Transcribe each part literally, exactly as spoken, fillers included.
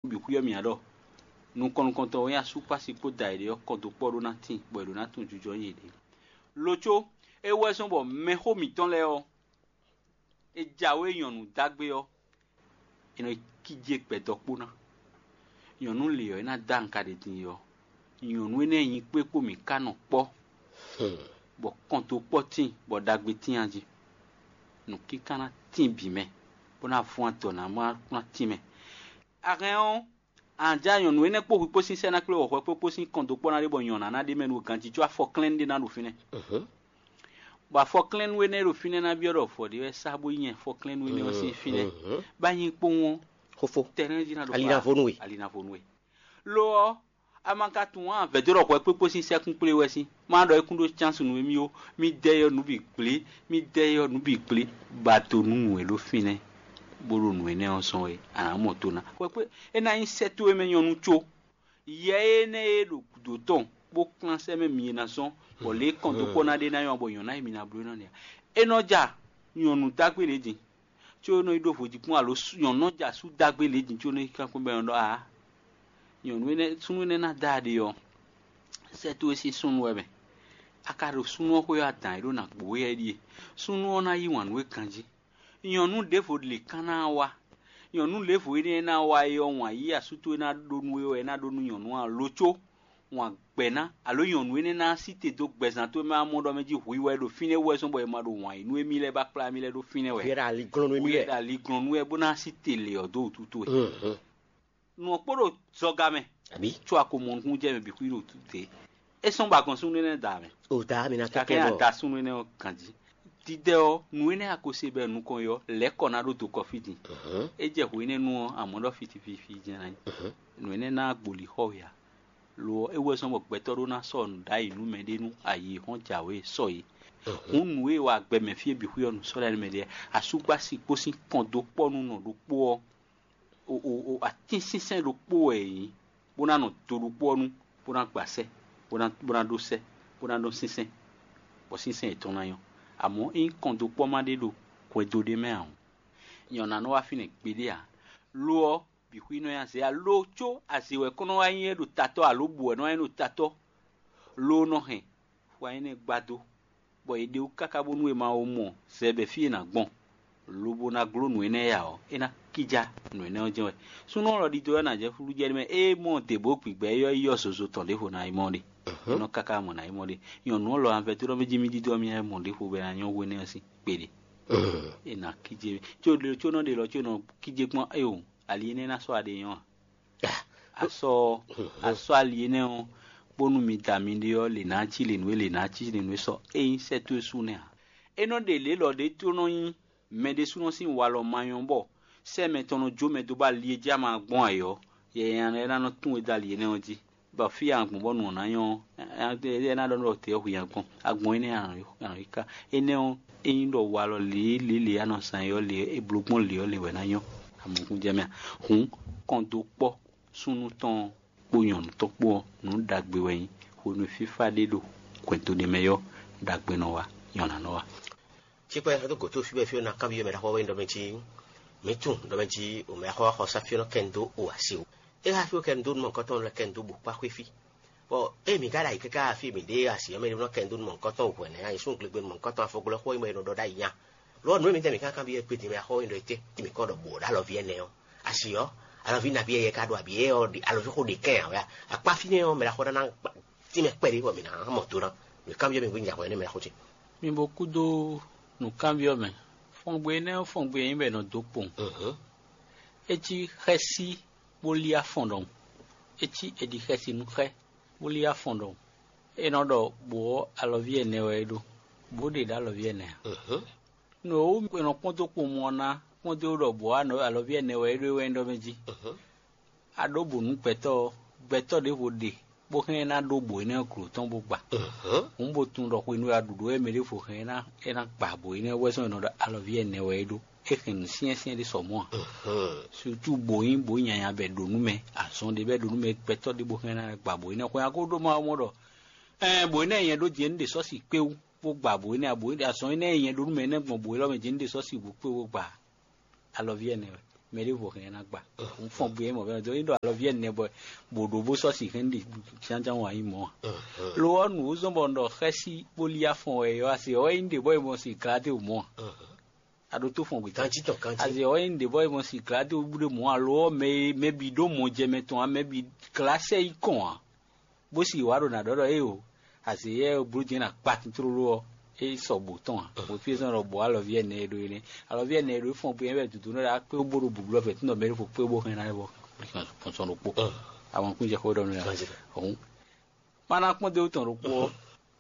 bǐ xwíyɔ́ mì ǎ ɖɔ nukɔn nukɔntɔn wɛ nyí asúkpási kpó da yěɖée ɔ́ kɔn dó kpɔ́ ɖó ná tíin, bɔ è ɖǒ ná tunwun jijɔ nyi yěɖée. Lo có é wɛ zɔ́n bɔ mɛxó mǐtɔn lɛ́ɛ ɔ́, é jǎwe nyɔ̌nu dǎgbe ɔ́, è nɔ yi kíjé gbɛdɔkpó ná. Nyɔ̌nu lě ɔ́, é ná dó anka ɖě din é ɔ́, nyɔ̌nu énɛ́ nyi kpé kpó mǐ ká nɔ kpɔ́, bɔ kɔn dó kpɔ́ tíin, bɔ ɖagbe tíin a jí. Nǔkíká ná tíin bǐ mɛ, bó ná vɔ́n adɔ ná má ná tíin mɛ. A hɛn ɔ́, a nǎ ja nyɔ̌nu énɛ́ kpó hwi kpó sín sɛ́ ná kplé wɔ̌xɔ́ kpó kpó sín kɔn dó kpɔ́ ná ɖé bɔ nyɔ̌ná ná ɖ'é mɛ nú ganjí có afɔklɛ́nú ɖé ná ɖo fínɛ́. Bɔ afɔklɛ́nú énɛ́ e ɖo fínɛ́ ná byɔ́ ɖɔ vɔ̌ ɖé wɛ sá bó nyí afɔklɛ́nú énɛ́ ɔ́ sín fínɛ́. Bá nyí kpowun ɔ́, Xófó, tɛnɛ́ jí ná ɖo alinavonu we. Alinavonu we. Lo ɔ́, a ma ka tunwun ǎ, vɛ̌ dó ɖɔ hwɛ kpékpó sín sɛ́kún kplé wɛ sín. Má ɖɔ é kún ɖó cánsunu émí ó, mí dɛ yɔ nǔ bǐ gblé, mí dɛ yɔ nǔ bǐ gblé, ba do nú nǔ e ɖo fínɛ́, bó ɖo nǔ énɛ́ ɔ́ zɔ́n é, a nǎ mɔ to ná. Hwɛ kpé é ná nyí sɛ́ towe mɛ nyɔ́nu có. Yɛ énɛ́ e ɖo gǔdo tɔn bó kplán sɛ́ mɛ mi e ná zɔ́n, bɔ lě e kɔn dó kpɔ́ ná ɖe ná nyɔ́ bɔ nyɔ̌ná e mi ná bló ná nɛ́ ǎ. É nɔ ja nyɔ̌nu dó agbe lě din, có é nɔ yi ɖó vodíkpɔ́n alo nyɔ̌nu nɔ ja sú dó agbe lě din có é nɔ yi kankwɛ́ bɔ é nɔ ɖɔ ǎ. Nyɔ̌nu énɛ́ súnnu énɛ́ ná dó aɖe ɔ́, sɛ́ towe sín súnnu wɛ mɛ. A ka ɖo súnnu ɔ́ xwé ɔ́, adǎn e ɖó ná gbǒ wɛ é ɖíe. Súnnu ɔ́ ná yí wǎn nú we ganjí. Nyɔ̌nu ɖěvo lě kán ná wá. Nyɔ̌nu lěvo énɛ́ e ná wá é ɔ́, wǎn yí asú towe ná ɖó nú we wɛ é ná ɖó nú nyɔ̌nu ǎ, lo có wǎn gbɛ̌ ná, alo nyɔ̌nu énɛ́ ná sí te dó gbɛzán towe mɛ amɔ ɖɔ mɛ jí hwi wɛ ɖo fínɛ́ wú wɛ zɔ́n bɔ è ma ɖo wǎn yí nú émí lɛ́ɛ bó kplá émí lɛ́ɛ ɖó fínɛ́ wɛ. Hwi wɛ ɖo ali glɔ́n nú émí Hwi wɛ wɛ. Ɖo ali glɔ́n nú wɛ bó ná sí te lě ɔ́ dó wútu towe. Nǔ ɔ́ kpó ɖo zɔga mɛ, Abǐ? Có a ko mɔ nukúnnú jɛ mɛ bǐ xwí ɖo tǔ dě. É sɔ́n ba gbɔn súnnu énɛ́ da mɛ. O da mi ná Kakɛ kɛkɛ a bɔ. Da súnnu énɛ́ ɔ́ ganjí. Dídɛ ɔ́, nǔ énɛ́ a ko se bɛ nukɔn ɔ́, lɛ̌ kɔ ná ɖó dokɔ fí din. É jɛ hwě énɛ́ nu ɔ́, amɔ̌ ɖɔ fiti fífí jɛ́n ná nyí. Nǔ énɛ́ ná gboli xɔ we ǎ. Lo ɔ́, é wɛ zɔ́n bɔ gbɛtɔ́ ɖó ná sɔ́ nǔ ɖ'ayǐ nú mɛɖé nú ayǐ hɔn jǎwe sɔ é. Hǔn nǔ e wa gbɛ mɛ fí e bǐ xwí ɔ́, nǔ sɔ́ lɛ́ɛ nú mɛɖé. Asúgbási kpó sín kɔn dó kpɔ́ nú nɔ ɖokpó ɔ́, o o o atínsínsɛ́n ɖokpó wɛ è nyǐ, bó ná nɔ do ɖokpó ɔ́ nu, bó ná gba sɛ́, bó ná bó ná ɖó sɛ́, bó ná ɖó sínsɛ́n, bɔ sínsɛ́n yětɔn ná nyɔ́. Amɔ̌, ényí kɔn dó kpɔ́ ma ɖé ɖo hwɛndo ɖé mɛ ǎ ɔ́, nyɛ ɔ́ ná nɔ wá fínɛ́ gbeɖé ǎ. Lo ɔ́, bǐ xwí nɔ nyi azě ǎ, lo có azě wɛ kɔn nɔ wá nyí é ɖo tatɔ́ alo bǔ wɛ nɔ wá nyí ɖo tatɔ́, lo nɔ hɛn xwa énɛ́ gbadó, bɔ è ɖe wú káká bónú è ma wo mɔ zɛ bɔ fí è nǎ gbɔn, lobo ná gló nǔ énɛ́ ya ɔ́, é ná kíjá nǔ énɛ́ ɔ́ jɛ́n wɛ. Súnnu ɔ́ lɔ ɖidó wɛ ná jɛ fúlú jɛ nú mɛ, ée mɔ dě bó gbigbɛ é ɔ́, yi yɔ zozo tɔn ɖěvo ná yi mɔ ɖe. É nɔ káká mɔ ná yi mɔ ɖe. Nyɔ̌nu ɔ́ lɔ anvɛ tó ɖɔ mɛ jí mí ɖidó ɔ́, mí ná yi mɔ ɖěvo bɔ é ná nyɔ́ hwénɛ́ ɔ́ sín kpeɖe. É ná kíjé, có ɖe có nɔ ɖe lɔ có nɔ kíjé gbɔn, éyo, ali énɛ́ ná sɔ́ aɖe nyɔ́ a? Asɔ asɔ ali énɛ́ ɔ́, bónú mi da miɖée ɔ́, lě ná cí lě nú é, lě ná cí lě nú é sɔ. Ényí sɛ́ towe sú nɛ́ ǎ. É nɔ ɖe lě lɔ ɖé tó nɔ nyí mɛ ɖésúnɔ sín walɔ ma nyɔ́ bɔ sɛ́ mɛ tɔn nɔ jó mɛ dó bɔ ali e jí ama gbɔn ayǐ ɔ́, yɛ nya lɛ́ɛ ná nɔ tún we dó ali énɛ́ ɔ́ jí, bɔ fí e a gbɔn bɔ nǔ ɔ́ ná nyɔ́ ɔ́, é ná ɖɔ nú ɖɔ tɛ̌ ɔ́ hwi a gbɔn. A gbɔn énɛ́ a nɔ yi ká. Énɛ́ ɔ́, ényí ɖɔ walɔ lě e lě e a nɔ zán é ɔ́ lě e è bló gbɔn lě ɔ́ lě wɛ ná nyɔ́. Amɔ̌kúnjɛ mɛ a? Hǔn kɔn dó kpɔ́ súnnu tɔn ɔ́ kpó nyɔ̌nu tɔn kpó ɔ́, nǔ ɖagbe wɛ nyí. Hwenu e fífá ɖé ɖo hwɛndo ɖé mɛ ɔ́, ɖagbe nɔ wa, nyɔ̌ná nɔ wa. Cikpɛ xɛ́ dó gǒ tó fí bɔ fí ɔ́ ná kanbyɔ́ mɛ ɖaxó ɔ́ wɛ nyí ɖɔ mɛ jí mǐ tunwun ɖɔ mɛ jí mɛ ɖaxó ɔ́ xɔ sá fí ɔ́ nɔ kɛ nu dó o asi o. É xá fí ɔ́ kɛ nu dó nú mɔ̌hunkɔtɔn lɛ́ɛ kɛ nu dó bǔ kpá xwé fí. Bɔ ée mǐ ka ɖo ayǐ káká fí e mǐ ɖe asi ɔ́ mɛ ɖé nɔ kɛ nu dó nú mɔ̌hunkɔtɔn hwɛ̌ nɛ́, anyǐsúnglegbenu mɔ̌hunkɔtɔn afɔgblɔxó e mɛ è nɔ ɖɔ ɖ'ayǐ nya. Lo ɔ́, nǔ e mǐ tɛ́ mǐ ka kanbyɔ́ é kpé din mɛ axɔ́ é ɖɔ étɛ́, mǐ kɔ ɖɔ bǒ ɖo alɔví ɛnɛ ɔ́. Asi ɔ́, alɔví nabí yɛ ka ɖo abǐ é ɔ́ ɖe alɔví xó ɖe kɛn ǎ wɛ a? Akpá fínɛ́ ɔ́, mɛ ɖaxó ɖá ná tínmɛ kpɛɖé bɔ mǐ ná mɔ do ná. Mǐ kanbyɔ́ mì hwín nya hwɛ nɛ́ mɛ ɖaxó ce. Mi bo kúdó nǔkanbyɔ́ mɛ. Fɔngbe énɛ́ ɔ́, fɔngbe e nyí bɔ è nɔ dó kpowun. É cí xɛ́sí bó lí afɔn ɖɔhun. É cí è ɖi xɛsi nú xɛ, bó lí afɔn ɖɔhun. É nɔ ɖɔ bǒ ɔ́, alɔví ɛnɛ wɛ é ɖó. Bǒ ɖe ɖo alɔví ɛnɛ ǎ. Nǔ e wú è nɔ kpɔ́n dó kpowun ɔ́ ná kpɔ́n dó ɖɔ bǒ ɔ́, alɔví ɛnɛ wɛ é ɖó é wɛ nyí ɖɔ mɛ jí. A ɖǒ bǔ nú gbɛtɔ́ ɔ́, gbɛtɔ́ ɖěvo ɖe bó hɛn ná ɖó bǒ énɛ́ ɔ́ glo tɔn bó gba. Hǔn bo tunwun ɖɔ hwenu e a ɖu ɖǒ wɛ mɛ ɖěvo hɛn ná é ná gba bǒ énɛ́ wɛ zɔ́n è nɔ ɖɔ alɔví ɛnɛ wɛ é ɖó. É hɛn nǔ syɛ́nsyɛ́n ɖé sɔ mɔ̌ ǎ. Sutu bǒ nyí bǒ nyanya bɔ è ɖǒ nú mɛ, azɔn ɖé bɔ è ɖǒ nú mɛ, gbɛtɔ́ ɖěbǔ hɛn ná gba bǒ énɛ́ xwɛ ɔ́, a ko ɖó ma mɔ ɖɔ ɛɛ bǒ énɛ́ nyɛ ɖó din é, un ɖe sɔ́ si kpé wú bó gba bǒ énɛ́ ǎ, bǒ énɛ́ azɔn énɛ́ e nyɛ ɖó nú mɛ énɛ́ gbɔn bǒ élɔ́ mɛ din, un ɖe sɔ́ si wú kpé bó gba alɔví ɛnɛ wɛ. Mɛ ɖěvo hɛn ná gba. Un fɔn gbe mɔ bɛn do yin ɖo alɔvi ɛnɛ bɔ bò ɖo bó sɔ si hɛn ɖi. Tiantian wa yi mɔ. Lo ɔ nu zɔn bɔ un ɖɔ xɛsi bó li afɔn wɛ yɔ asi ɔ yin ɖe bɔ yi mɔ si glade o mɔ. A ɖo tó fɔn gbe. Kanji tɔn kanji. Asi ɔ yin ɖe bɔ yi mɔ si glade o bu ɖe mɔ alo ɔ mɛ mɛ bi ɖo mɔ jɛ mɛ tɔn a mɛ bi glasɛ yi kɔn a. Bó si wǎ ɖo nǎ ɖɔ ɖɔ éyo, azě yɛ bló din ná kpa tintlóló ɔ́, é sɔ bǒ tɔn ǎ. Bó fí é zɔ́n ɖɔ bǒ alɔví ɛnɛ e ɖó é nɛ́. Alɔví ɛnɛ e ɖó é fɔ́n bó nyɛ wɛ dǔdú nɔ ɖo akpé bó ɖo bǔblɔ́ fɛ̌ tún ɖɔ mɛ ɖěvo kpé bó hɛn ná é bɔ sɔn ɖokpó. Àwọn kún jɛ xó ɖɔ nú ya. Ọ̀hún. Má ná kpɔ́n dé wú tɔn ɖokpó ɔ́,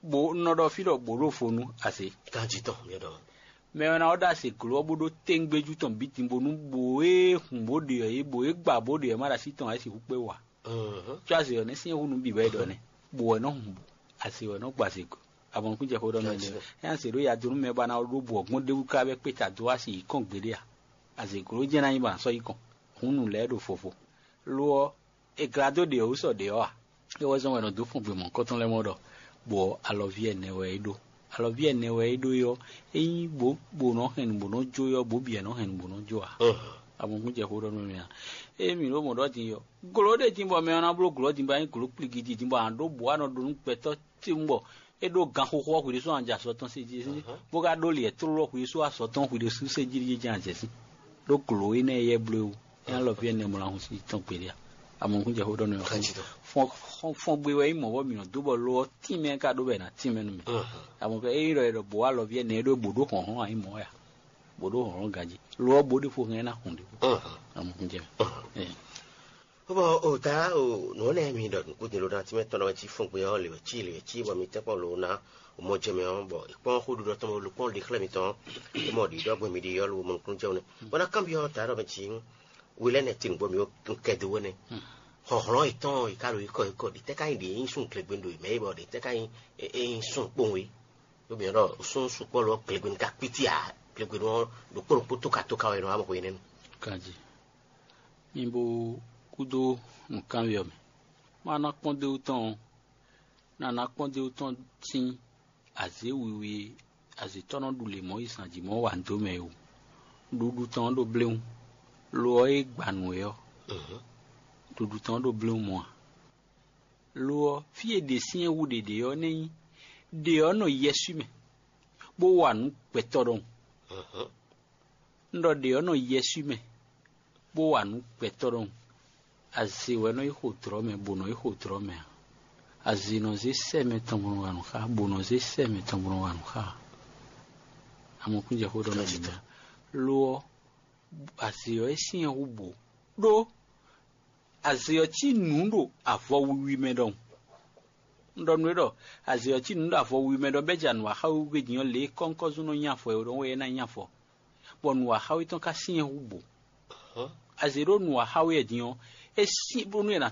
bó un nɔ ɖɔ fí ɖɔ bǒ ɖo vo nú azě. Kanji tɔn mi ɖɔ. Mɛ ɔ́ ná ɔ́ ɖo azě gló ɔ́ bó ɖó téńgbéjú tɔn bǐ din bónú bǒ e hǔn bó ɖe ɔ́ é bǒ e gba bó ɖe ɔ́ má ɖo así tɔn ǎ é sixú kpé wa. Có azě ɔ́ nɛ́ syɛ́n hú nǔ bǐ wɛ é ɖɔ nɛ́, bǒ wɛ nɔ́ hun bǔ, azě wɛ nɔ́ gba azě go. Abɔnukún jɛ xó ɖɔ nú mɛ nɛ́. Ényí azě ɖó ya dó nú mɛ ba ná ɖó bǔ ɔ́ gbɔn ɖ'é wú káká bɔ é kpé ta dó wá si yi kɔn gbeɖé a? Azě gló jɛ́n ná nyí ba ná sɔ́ yi kɔn. Hǔn nǔ lɛ́ɛ ɖo vovo. Lo ɔ́, è glá dó ɖě ɔ́ wú sɔ ɖě ɔ́ a? É wɛ zɔ́n wɛ è nɔ dó fɔn gbe mɔ̌hunkɔtɔn lɛ́ɛ mɔ ɖɔ, bɔ alɔví ɛnɛ wɛ é ɖó. Alɔví ɛnɛ wɛ é ɖó é ɔ́, é nyí bǒ bǒ nɔ hɛn nǔ bó nɔ jó é ɔ́, bǒ bǐ wɛ nɔ hɛn nǔ bó nɔ jó ǎ. Abɔnukún jɛ xó ɖɔ nú mɛ a? Ée mǐ ɖo mɔ̌ ɖɔ din ɔ́, glo ɖé din bɔ mɛ ɔ́ ná bló glɔ́ din bɔ é nyí glǒ kpligi din bɔ a nǎ ɖó bǔ a nɔ ɖó nú gbɛtɔ́ tewun bɔ é ɖó ganxoxo ɔ́ hwi ɖésú a nǎ jɛ azɔ̌ tɔn sí jí sín, bó ka ɖó lǐɛ tlóló hwi ɖésú azɔ̌ tɔn hwi ɖésú sé jí jɛ́n a jɛ sín. Ɖó glǒ énɛ́ yɛ bló é wú, é ná lɔ fí ɛnɛ mɔ ná hun sí tɔn gbeɖé a? Amɔ̌kún jɛ xó ɖɔ nú ɛ. Fɔn fɔn gbe wɛ nyí mɔ̌ bɔ mǐ nɔ dó bɔ lo ɔ́ tínmɛ ka ɖó bɔ è nǎ tínmɛ nú mǐ. Amɔ̌ fɛ é nyí ɖɔ è ɖɔ bǒ alɔví ɛnɛ é ɖó bǒ ɖó hlɔ̌nhlɔ́n ǎ nyí mɔ̌ wɛ a? Bǒ ɖó hlɔ̌nhlɔ́n ganjí. Lo ɔ́ bó ɖé fo hɛn ná hun ɖě. Amɔ̌kún jɛ. Bɔn o ta o nǔ nɛ mi ɖɔ nukúndin ló ná tí mɛ tɔn ɔ́ cí fún gbé ɔ́ lě wɛ cí lě wɛ cí bɔ mi tɛ́ kpɔ́n ló ná o mɔ jɛ mɛ ɔ́ bɔ è kpɔ́n xó ɖuɖɔ tɔn ló kpɔ́n ɖi xlɛ́ mitɔn é mɔ ɖi ɖɔ gbɛn mi ɖi ɔ́ ló mɔ nukúnnú jɛ ne bɔ ná kanbyɔ́ ta ɖɔ mɛ cí we lɛ́ nɛ tin bɔ mi kɛ do wɛ nɛ xɔxlɔ́n yětɔn yi ka ɖo yi kɔ yi kɔ ɖi tɛ́ ka nyi ɖi nyi sún glegbenu ɖo yi mɛ yi bɔ ɖi tɛ́ ka nyi é nyi sún kpowun yi ɖo mi ɖɔ sún sukpɔ́ lɔ glegbenu ka kpíti a glegbenu ɔ́ ɖokpó ɖokpó tóka tóka wɛ nɔ amɔ xwe nɛnu. Kanji. Mi bo kúdó nǔkanbyɔ́ mɛ. Má ná kpɔ́n dó tɔn ɔ́, ná ná kpɔ́n dó tɔn sín azě wiwi e azǐtɔ́ nɔ ɖu lě mɔ̌ yi zǎn jí mɔ̌ wa dó mɛ é wú. Ɖuɖu tɔn ɔ́ ɖo bléwún, lo ɔ́ é gba nǔ é ɔ́, ɖuɖu tɔn ɔ́ ɖo bléwún mɔ̌ ǎ. Lo ɔ́, fí e ɖě syɛ́n hú ɖě ɖe ɔ́ nɛ́ nyí ɖě ɔ́ nɔ yɛswí mɛ, bó wa nǔ gbɛtɔ́ ɖɔhun. Un ɖɔ ɖě ɔ́ nɔ yɛswí mɛ, bó wa nǔ gbɛtɔ́ ɖɔhun. Azě wɛ nɔ yi xo dlɔ̌ mɛ, bó nɔ yi xo dlɔ̌ mɛ ǎ. Azě nɔ zé sɛ́ mɛ tɔn bó nɔ wa nǔ xá, bó nɔ zé sɛ́ mɛ tɔn bó nɔ wa nǔ xá ǎ. Amɔkún jɛ xó ɖɔ nú mi ná. Lo ɔ́, azě ɔ́ é syɛ́n hú bǒ, ɖó azě ɔ́ cí nǔ ɖo avɔ wiwi mɛ ɖɔhun. Un ɖɔ nú we ɖɔ azě ɔ́ cí nǔ ɖo avɔ wiwi mɛ ɖɔ bɛ́ ja nǔ wa xá we din ɔ́ lě e kɔ́nkɔ́zún nɔ nyi afɔ e ɖɔhun wɛ é ná nyi afɔ, bɔ nǔ wa xá we tɔn ka syɛ́n hú bǒ. Azě ɖó nǔ wa xá we din ɔ́, é syɛ́n bónú è nǎ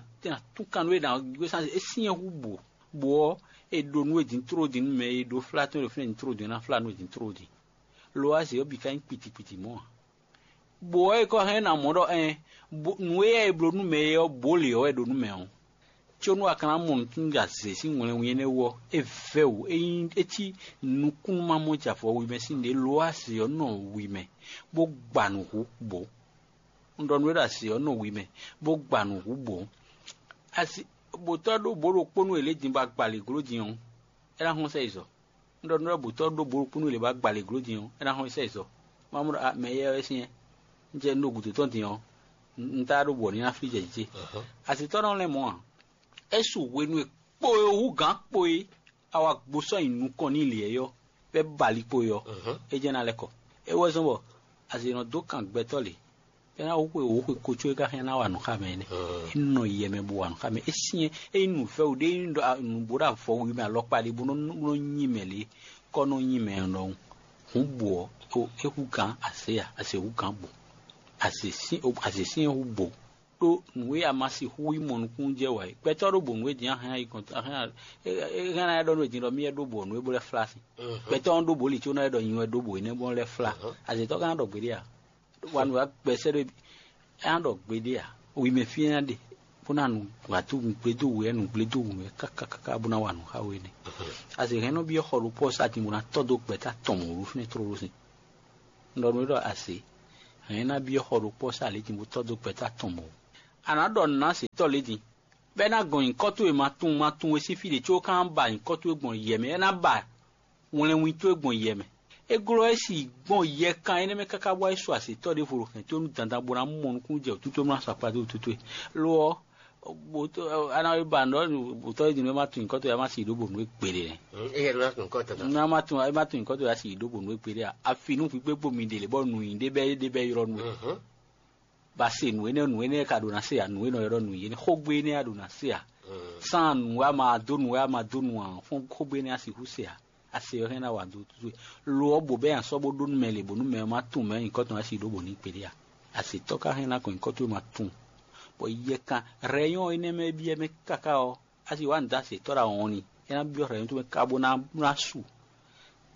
tún kan nú é nǎ gbé sán é syɛ́n hú bǒ. Bǒ ɔ́, è ɖo nú we din tló din nú mɛ e ɖó flá tɔn e ɖo fínɛ́ din tló din ɔ́ ná flá nú we din tló din. Lo ɔ́, azě ɔ́ bǐ ka nyí kpitikpiti mɔ̌ ǎ. Bǒ ɔ́, è kɔ hɛn ná mɔ ɖɔ ɛn, nǔ e yɛ è bló nú mɛ é ɔ́, bǒ lě ɔ́ wɛ ɖo nú mɛ ɔ́. Có nú a ka ná mɔ nǔtúnú ɖo azě sín wlɛnwún énɛ́ wú ɔ́, é vɛ́ wǔ, é nyí é cí nukúnnú-mamɔ́ jɛ avɔ wi mɛ sín ɖě ló azě ɔ́ nɔ wi mɛ, bó gba nǔ hú bǒ. Un ɖɔ nú we ɖɔ azě ɔ́ nɔ wi mɛ, bó gba nǔ hú bǒ. Asi bǒtɔ́ ɖó bǒ ɖokpónú e lě din bɔ a gba lě gló din ɔ́, é ná hlɔ́n sɛ yi zɔ. Un ɖɔ nú we ɖɔ bǒtɔ́ ɖó bǒ ɖokpónú e lě bɔ a gba lě gló din ɔ́, é ná hlɔ́n sɛ yi zɔ. Má mɔ ɖɔ mɛ éyɛ́ wɛ syɛ́n. Un jɛ un ɖo gǔdo tɔn din ɔ́, un ta ɖó bɔ ní ná flí jɛ jǐ ce. Azǐtɔ́ nɔ lɛ́ mɔ̌ ǎ. É su hwenu e kpo e hú gǎn kpo e a wá gbó sɔ́ nyi nukɔn n'i lě ɔ́, bɔ é ba ali kpo e ɔ́, é jɛ́n ná lɛ́ kɔ. É wɛ zɔ́n bɔ azě nɔ dó kan gbɛtɔ́ lě, bɔ é ná xwe wǒ xwe ko có é ka hɛn ná wa nǔ xá mɛ énɛ́. É nɔ yɛ mɛ bó wa nǔ xá mɛ. É syɛ́n é nyí nǔvɛ́wǔ ɖé é nyí ɖɔ nǔ bó ɖo avɔ wi mɛ alɔkpa ɖé bó nɔ nɔ nyi mɛ lě, kɔ nɔ nyi mɛ ɖɔhun. Hǔn bǔ ɔ́, é hú gǎn azě a, azě hú gǎn bǔ. Azě sín azě sín é hú bǒ. Ɖó nǔ e a ma sixú yi mɔ nukúnnú jɛ wǎ é. Gbɛtɔ́ ɖó bǒ nú e din a hɛn ayi kɔn a hɛn a- e- e- hɛn ná ɖɔ nú e din ɖɔ mí wɛ ɖó bǒ nú é bó lɛ́ flá sin. Gbɛtɔ́ ɔ́ ɖó bǒ li có ná ɖɔ nyi wɛ ɖó bǒ énɛ́ bó lɛ́ flá. Azětɔ́ ka ná ɖɔ gbeɖé a? Wa nǔ wa gbɛsɛ ɖó é ná ɖɔ gbeɖé a? Wi mɛ fí é ná ɖe bó ná nu wǎtu gblé dó wǔ wɛ nu gblé dó wǔ wɛ kákákáká bó ná wa nǔ xá we nɛ. Azě hɛn nɔ byɔ́ xɔ ɖokpó ɔ́ sá din bó ná tɔ́ dó gbɛtɔ́ atɔn mɔ̌ ɖó fínɛ́ tlóló sin. Un ɖɔ nú é ɖɔ azě Hɛn é ná byɔ́ xɔ ɖokpó ɔ́ sín alě din bó tɔ́ dó gbɛ̌ta tɔn mɔ̌. A nǎ ɖɔ nǔ ná azětɔ́ lě din, bɔ é ná gɔn nyǐkɔ towe ma tunwun ma tunwun e sín fí ɖě có é ka ná ba nyǐkɔ towe gbɔn yɛ mɛ, é ná ba wlɛnwin towe gbɔn yɛ mɛ. É glɔ́ é si gbɔn yɛ kan énɛ́ mɛ káká bɔ é su azětɔ́ ɖěvo ɖo hɛ̌n towe nú dandan bó ná mɔ nukúnnú jɛ wǔtu towe bó ná sɔ́ akpa dó wǔtu towe. Lo ɔ́, bó tó a ná ba nǔ ɖɔ bǒtɔ́ é din nú é má tunwun nyǐkɔ towe, é má si yi ɖó bǒ nú é gbeɖé nɛ́. Éyɛ́ ɖó ná tunwun kɔ́ tɔn tɔn. Ná má tunwun é má tunwun nyǐkɔ towe, é má si yi ɖó bǒ nú é gbeɖé a. Afi nú hwǐ gbé kpó mi ɖe lě bɔ nǔnyi ɖé bɛ́ ɖé bɛ́ ylɔ́ nú we. Ba se nǔ énɛ́, nǔ énɛ́ ka ɖo ná se ǎ, nǔ e nɔ ylɔ́ nǔ yě nɛ́, xógbe énɛ́ a ɖo ná se ǎ. Sán nǔ a ma dó nǔ a ma dó nu ǎ, fɔ́n xógbe énɛ́ a sixú se ǎ. A se ɔ́ hɛn ná wa dó towe. Lo ɔ́, bǒ bɛ́ nyi asɔ́ bó ɖó nú mɛ lě bónú mɛ ɔ́ má tunwun mɛ nyǐkɔ tɔn wɛ a si ɖó bǒ n'i kpéɖé ǎ. Azǐtɔ́ ka hɛn ná kɔn nyǐkɔ towe ma tunwun, bɔ yɛ kan rɛyɔ́n énɛ́ mɛ e byɔ́ mɛ káká ɔ́, a si wǎ nǔ dó azǐtɔ́ ɖo awɔn ni, é ná byɔ́ rɛyɔ́n towe mɛ káká bó ná ná su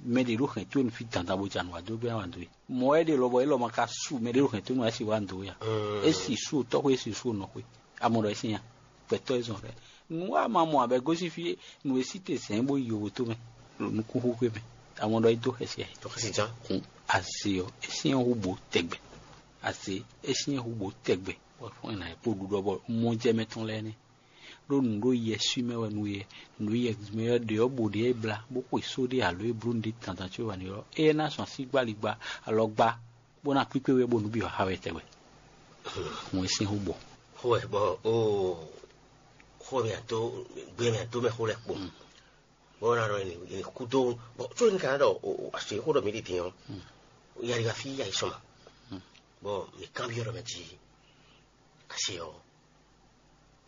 mɛ ɖě ɖo hɛ̌n towe nú fí dandan bó ja nǔ wa dó gbɛ́ wa dó e. Mɔ̌ wɛ ɖe lɔbɔ élɔ́ ma ka su mɛ ɖě ɖo hɛ̌n towe nú wa é si wa dó e a? É si su tɔ́xwé, é si su nɔxwé. A mɔ ɖɔ é sín a? Gbɛtɔ́ e zɔn rɛ. Nǔ wa ma mɔ abɛ gosín fí nǔ e sí te zɛ̌n bó yi yovo tó mɛ ɖo nukúnxwé mɛ. A mɔ ɖɔ é dó xɛsi a? Tɔxɛsi jan. Kun aze ɔ́, é syɛ́n hú bǒ tɛgbɛ. Aze, é syɛ́n hú bǒ tɛgbɛ. Bɔ fɔ́n ɛ nǎ yi kpó ɖuɖɔ bɔ mɔjɛmɛ tɔn lɛ́ɛ nɛ́. Ɖó nǔ ɖo yɛ sú mɛ wɛ nú yɛ, nǔ ɖo yɛ mɛ wɛ ɖě ɔ́ bǒ ɖě e blá, bó xwe só ɖé alo e bló nǔɖé dandan có wɛ n'i ɔ́, éyɛ́ ná zɔn así gba ali gba alɔ gba, bó ná kpíkpé wɛ bónú byɔ̌ xa wɛ tɛgbɛ. Hɔn é sín xó gbɔ. Xó wɛ bɔ ó xó mɛ àtó gbé mɛ àtó mɛ xó lɛ kpo. Bɔ ná ɖɔ ni kú dó bɔ tó ní kana ɖɔ así xó ɖɔ mǐ ɖi dín ɔ́, yari wá fí yà yi sɔmɔ. Bɔ mǐ kanbyɔ́ ɖɔ mɛ jí así ɔ́,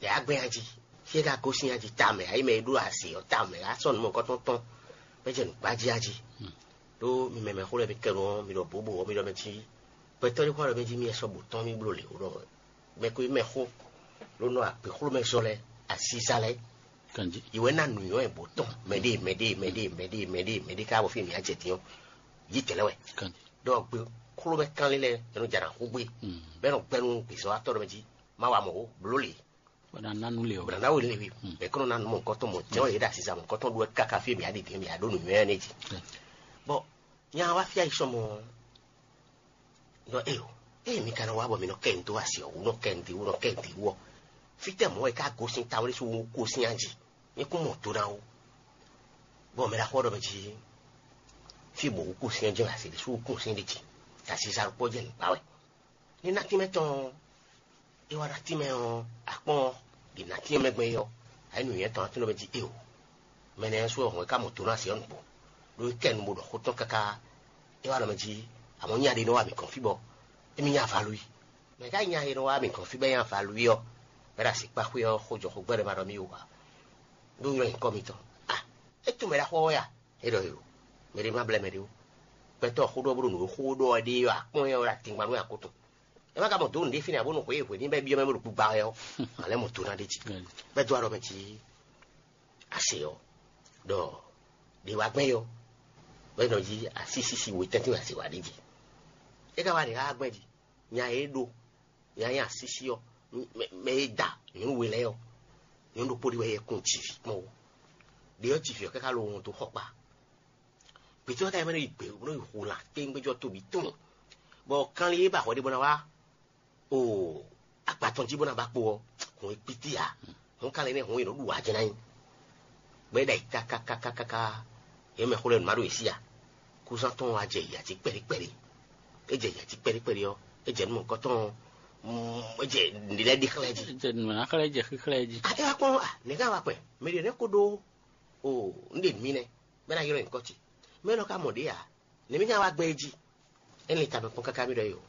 yɛ á gbɛ́n ají, fí e ka gosín ají tamɛ, ayi mɛ e ɖó azě ɔ́ tamɛ, á sɔ́ nǔ mɔ̌kɔ́tɔn tɔn, bɔ é jɛ nǔgbájí ají. Ɖó mi mɛ mɛxó lɛ́ɛ mi kɛ nu ɔ́, mi ɖɔ bǒbǒ ɔ́, mi ɖɔ mɛ jí gbɛtɔ́ ɖé xó ɖɔ mɛ jí mi sɔ́ bǒ tɔn mi bló lě wú ɖɔ mɛ ko mɛ xó ló nɔ agběxlómɛ zɔ lɛ́ɛ, asízá lɛ́ɛ, Kanjí. Yi wɛ ná nǔnywɛ́ bǒ tɔn mɛɖée mɛɖée mɛɖée mɛɖée mɛɖée mɛɖée ká bɔ fí mi á jɛ dín ɔ́, yí tɛ̌ lɛ́ɛ wɛ. Kanjí. Ɖɔ gbě xlómɛ kánlin lɛ́ɛ é nɔ jɛ nǎ xú gbé, bɔ é nɔ gbɛ́ nú gbězɔ́watɔ́ ɖɔ mɛ jí má wa mɔ̌ ó, blǒ lě. Bɔ ná ná nú le ɔ́. Bɔ ná ná wele we, bɛ̌ kɔn ná nú mɔ̌hunkɔtɔn mɔ̌ jɛ́n ɔ́ yě ɖo asisa mɔ̌hunkɔtɔn ɖó wɛ káká fí e mǐ ɖi din mǐ ɖó nǔnywɛ́ ɔ́ nɛ́ jí. Bɔ nya wá fí ayisɔmɔ ɔ́, ɖɔ éyo, ée mi ka nɔ wá bɔ mi nɔ kɛ nǔ dó asi ɔ́ wú, nɔ kɛ nǔ dó wú, nɔ kɛ nǔ dó wú ɔ́, fítɛ́ mɔ̌ wɛ ká gosín tawlé sú wú kosín a jí? Mi kún mɔ do ná wú. Bɔ mɛ ɖaxó ɔ́ ɖɔ mɛ jí, fí bɔ wú kosín ɔ́ jɛ́n asi ɖé sú wú kosín ɖé jí, asisa ɖokpó jɛ́n nǔ kpa wɛ. Ní ná tínmɛ tɔn ɔ́, é wá ná tínmɛ ɔ́, akpɔ́n ɔ́, ɖě ná tínmɛ mɛ gbɛn é ɔ́, ayǐ nǔnywɛ́ tɔn ná tínmɛ mɛ jí éo. Mɛ nɛ́ sú ɔ́ hɔn é ká mɔ do ná se ɔ́ nǔgbó, ɖó é kɛ nu bó ɖɔ xó tɔn káká. É wá ɖɔ mɛ jí, amɔ̌ nya ɖé nɔ wa mǐ gɔ́n fí bɔ émí nya valú i. Mɛ ká nya e nɔ wa mǐ gɔ́n fí bɔ é nya valú i ɔ́, bɔ é ɖo asi kpá xwé ɔ́ xó jɔ xó gbɛ́ ɖɔ ma ɖɔ mì wú ǎ, ɖó ylɔ́ nyǐkɔ mitɔn. A, é tunwun mɛ ɖaxó ɔ́ wɛ a? É ɖɔ yo, mɛ ɖé ma blɛ́ mɛ ɖé ó. Gbɛtɔ́ xó ɖɔ bó ɖo nǔ e xó ɖɔ ɔ́ ɖe ɔ́, akpɔ́n ɛ ɔ́ ɖo atingban nú akó tɔn. É ma ka mɔ dǒ nǔɖé fínɛ́ ǎ bónú xwě e hwě ní bɛ́ byɔ́ mɛ bó ɖo gbigba wɛ ɔ́, a lɛ́ mɔ do ná ɖ'é jí. Bɛ́ dó alɔ mɛ jí ase ɔ́, ɖɔ ɖě wá gbɛn ɔ́, bɛ́ nɔ jí asísísi we tɛ́ntin wɛ ase wá ɖ'é jí. É ka wá ɖě wá gbɛn jí, nya e é ɖó, nya e nyí asísí ɔ́, mɛ e da nyɔ̌nu we lɛ́ɛ ɔ́, nyɔ̌nu ɖokpó ɖé wɛ é kún jǐ vǐ kpɔ́n ó. Ɖě ɔ́ jǐ vǐ ɔ́ káká lo wɔn dó xɔkpa. Gbětɔ́ ka yi mɛ nɔ yi gbě bó nɔ yi hu lan kpéŋgbéjɔ tóbí tɔn, bɔ kanlin e ba hwɛ ɖé bó ná wá o agba tɔn jí bó ná ba kpo ɔ́, hɔn e kpíti ǎ. Hɔn kanlin nɛ́ hɔn e nɔ ɖu wǎ jɛ ná nyi. Bɔ é ɖo ayǐ kákákákáká, yě mɛ xó lɛ́ɛ nǔ má ɖo yě sí ǎ. Kúzán tɔn wá jɛ yǎ jí kpɛɖí kpɛɖí. É jɛ yǎ jí kpɛɖí kpɛɖí ɔ́, é jɛ nú mɔ̌hunkɔtɔn, é jɛ nǔɖé lɛ́ɛ ɖi xlɛ́ jí. Jɛ nǔ ná xlɛ́ jɛ xíxlɛ́ jí. A é wá kpɔ́n a, nɛ̌ ká wá kpɛn? Mɛ ɖě nɛ́ ko ɖó o un ɖe nǔ mi nɛ́, bɔ é ná ylɔ́ nyǐkɔ ce. Mɛ élɔ́ ka mɔ ɖě ǎ, nɛ̌ mì ná wá gbɛn é jí? É lin tamɛ kpɔ́n káká mì ɖɔ é o.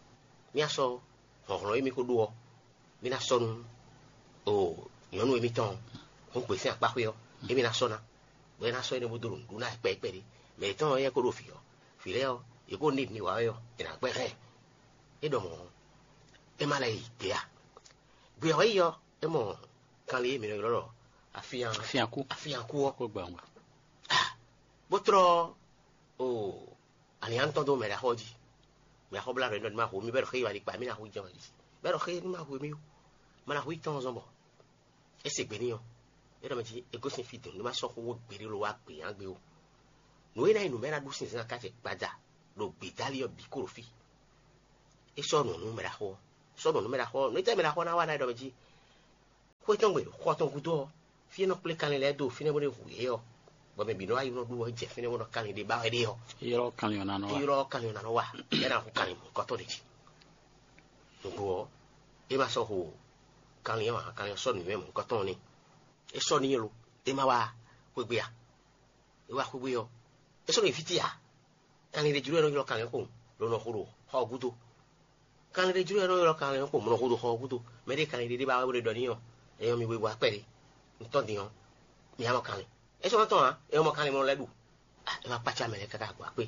Mì ná sɔ́ hlɔ̌nhlɔ́n e mì ko ɖó ɔ́, mì ná sɔ́ nú o nyɔ̌nu e mì tɔn hɔn gbe sín akpá xwé ɔ́, émí ná sɔ́ ná, bɔ é ná sɔ́ énɛ́ bó dó ɖo nǔɖuɖu ná yɛ kpɛɖí kpɛɖí. Mɛ yětɔn ɔ́, éyɛ́ ko ɖo vǐ ɔ́, vǐ lɛ́ɛ ɔ́, yě ko ní nǔ wa wɛ ɔ́, è nǎ gbɛ́ hɛn. É ɖɔ mɔ̌ ɔ́, é má lɛ́ yi gbě a? Gbě ɔ́ yi ɔ́, é mɔ kanlin e mǐ nɔ ylɔ́ ɖɔ afían Fíankú. Afíankú ɔ́, Kó gba wungbe. Bó tlɔ́ o alǐnnyánú tɔn dó mɛ ɖaxó ɔ́ jí. Mɛ ɖaxó blá ɖɔ é nɔ ní ma hu mì bɔ é ɖɔ xé yi wá ɖi kpa mì ná hu jɛ́n wá ɖi. Bɔ é ɖɔ xé ní ma hu mì ó. Ma ná hu yi tɔn zɔn bɔ é se gbe n'i ɔ́, é ɖɔ mɛ jí é gosín fí dɔn ní ma sɔ́ xó wó gbeɖé ló wá gbě yán gbe ó. Nǔ e ná nyí nǔ mɛ ná ɖu sinzɛn akácɛ gbada ɖo gbědálí ɔ́ bǐ kó ɖo fí. É sɔ́ nǔ nú mɛɖaxó ɔ́. Sɔ́ nǔ nú mɛɖaxó ɔ́, nǔ tɛ́ mɛɖaxó ɔ́ ná wa ná ɖɔ mɛ jí? Xwé tɔn gbe xɔ tɔn gúdo ɔ́, fí e nɔ kplé kanlin lɛ́ɛ dó fínɛ́ bó ná hu yě ɔ́, bɔ mɛ bǐ nɔ wá yi nɔ ɖu ɔ́ jɛ fínɛ́ bó nɔ kanlin ɖé ba wɛ ɖé ɔ́, ylɔ́ kanlin ɔ́ ná nɔ wá. Ylɔ́ kanlin ɔ́ ná nɔ wá, bɔ é ná hu kanlin mɔ̌hunkɔtɔn ɖé jí. Nǔgbó ɔ́, é ma sɔ́ hu kanlin ɔ́ ǎ, kanlin ɔ́ sɔ́ nǔnywɛ́ mɔ̌hunkɔtɔn ɔ́ n'i. É sɔ́ n'i lo, é ma wá xwé gbe a? É wá xwé gbe ɔ́, é sɔ́ nɔ yi fí ce ǎ. Kanlin ɖé jló wɛ nɔ ylɔ́ kanlin xo, ló nɔ xo ɖo xɔ ɔ́ gúdo. Kanlin ɖé jló wɛ nɔ ylɔ́ kanlin xo, mɔ nɔ xo ɖo xɔ ɔ́ gúdo. Mɛ ɖé kanlin ɖé ɖé ba wɛ bó ɖe ɖɔ n'i ɔ́, é nyɔ́ mi wegbo akpɛ́ ɖé. Un tɔ́n din ɔ́, mi ǎ mɔ kanlin. É sɔ́ nɔ tɔ́n ǎ, é mɔ kanlin mɔ lɛ́ ɖu. É wá kpácá mɛ lɛ́ɛ káká gbɔ akpé.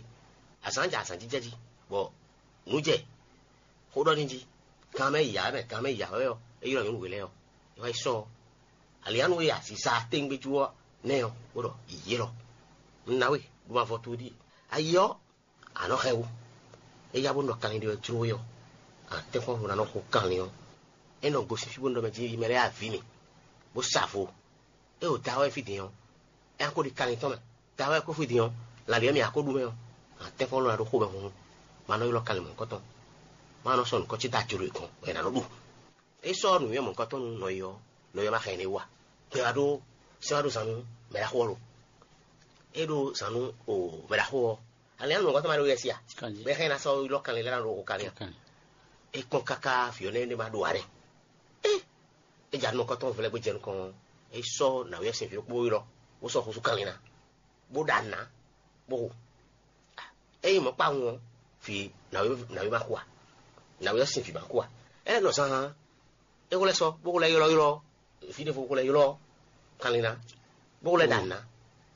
Azǎn jɛ azǎn jijɛ jí, bɔ nǔ jɛ xó ɖɔ n'i jí. Gan mɛ yi ǎ mɛ, gan mɛ yi ǎ wɛ ɔ́, é ylɔ́ nyɔ̌nu we lɛ́ɛ ɔ́, é wá yi sɔ́ ɔ́. Alianu e aziza tɛ́ngbéjú ɔ́ nɛ́ ɔ́, bó ɖɔ: Yǐyí élɔ́, un ná we, ɖó ma vɔ towe ɖíe. Ayi ɔ́, a nɔ xɛ wú. É yá bó nɔ kanlin ɖé wɛ jló we ɔ́, atɛ́nkpɔ́n ná nɔ xo kanlin ɔ́. É nɔ gosín fí bó nɔ ɖɔ mɛ jí: Yi mɛ lɛ́ɛ avǐ mì, bó sa vo. É ɖo da wɛ fí din ɔ́, é ná ko ɖi kanlin tɔn mɛ. Da wɛ kó fí din ɔ́, lǎlí ɔ́ mì a ko ɖu mɛ ɔ́, atɛ́nkpɔ́n lɔ ná ɖó xomɛ hunhun. Ma nɔ ylɔ́ kanlin mɔ̌hunkɔtɔn. Ma nɔ sɔ́ nǔkɔ́ ce dó ajlo e gɔ́n, bɔ è nǎ nɔ ɖu. É sɔ́ nǔnywɛ́ mɔ̌hunkɔtɔn nú nɔ e ɔ́, nɔ e ɔ́ ma xɛ nyɛ ɖ'é wú ǎ. Gbɛ wá ɖó sɛ́n wá ɖó zan nú mɛɖaxó ɔ́ lo. É ɖó zan nú o mɛɖaxó ɔ́, alɛ ɔ́ nǔ ɔ́ ma ɖó yɛ sí a? Bɔ é hɛn ná sɔ́ ylɔ́ kanlin lɛ́ɛ ná ɖo xo kanlin a? É kpɔ́n káká vǐ ɔ́ nɛ́ ɖé ma ɖo ǎ nɛ́. É, é ja nukɔntɔn vlɛ́ bó jɛ nukɔn, é sɔ́ nǎwe ɔ́ sín vǐ ɖokpó ylɔ́, bó sɔ́ xúsú kanlin ná, bó ɖa nǔ ná, bó hu. Ényí mɔ̌ kpawun ɔ́, vǐ nǎwe nǎwe ma xo a? Nǎwe ɔ́ sín vǐ ma xo a? É lɛ́ nɔ zán hán, é xo lɛ́ sɔ́, bó xo lɛ́ ylɔ́ylɔ́ fí ɖěvo, bó xo lɛ́ ylɔ́ kanlin ná, bó xo lɛ́ ɖa nǔ ná,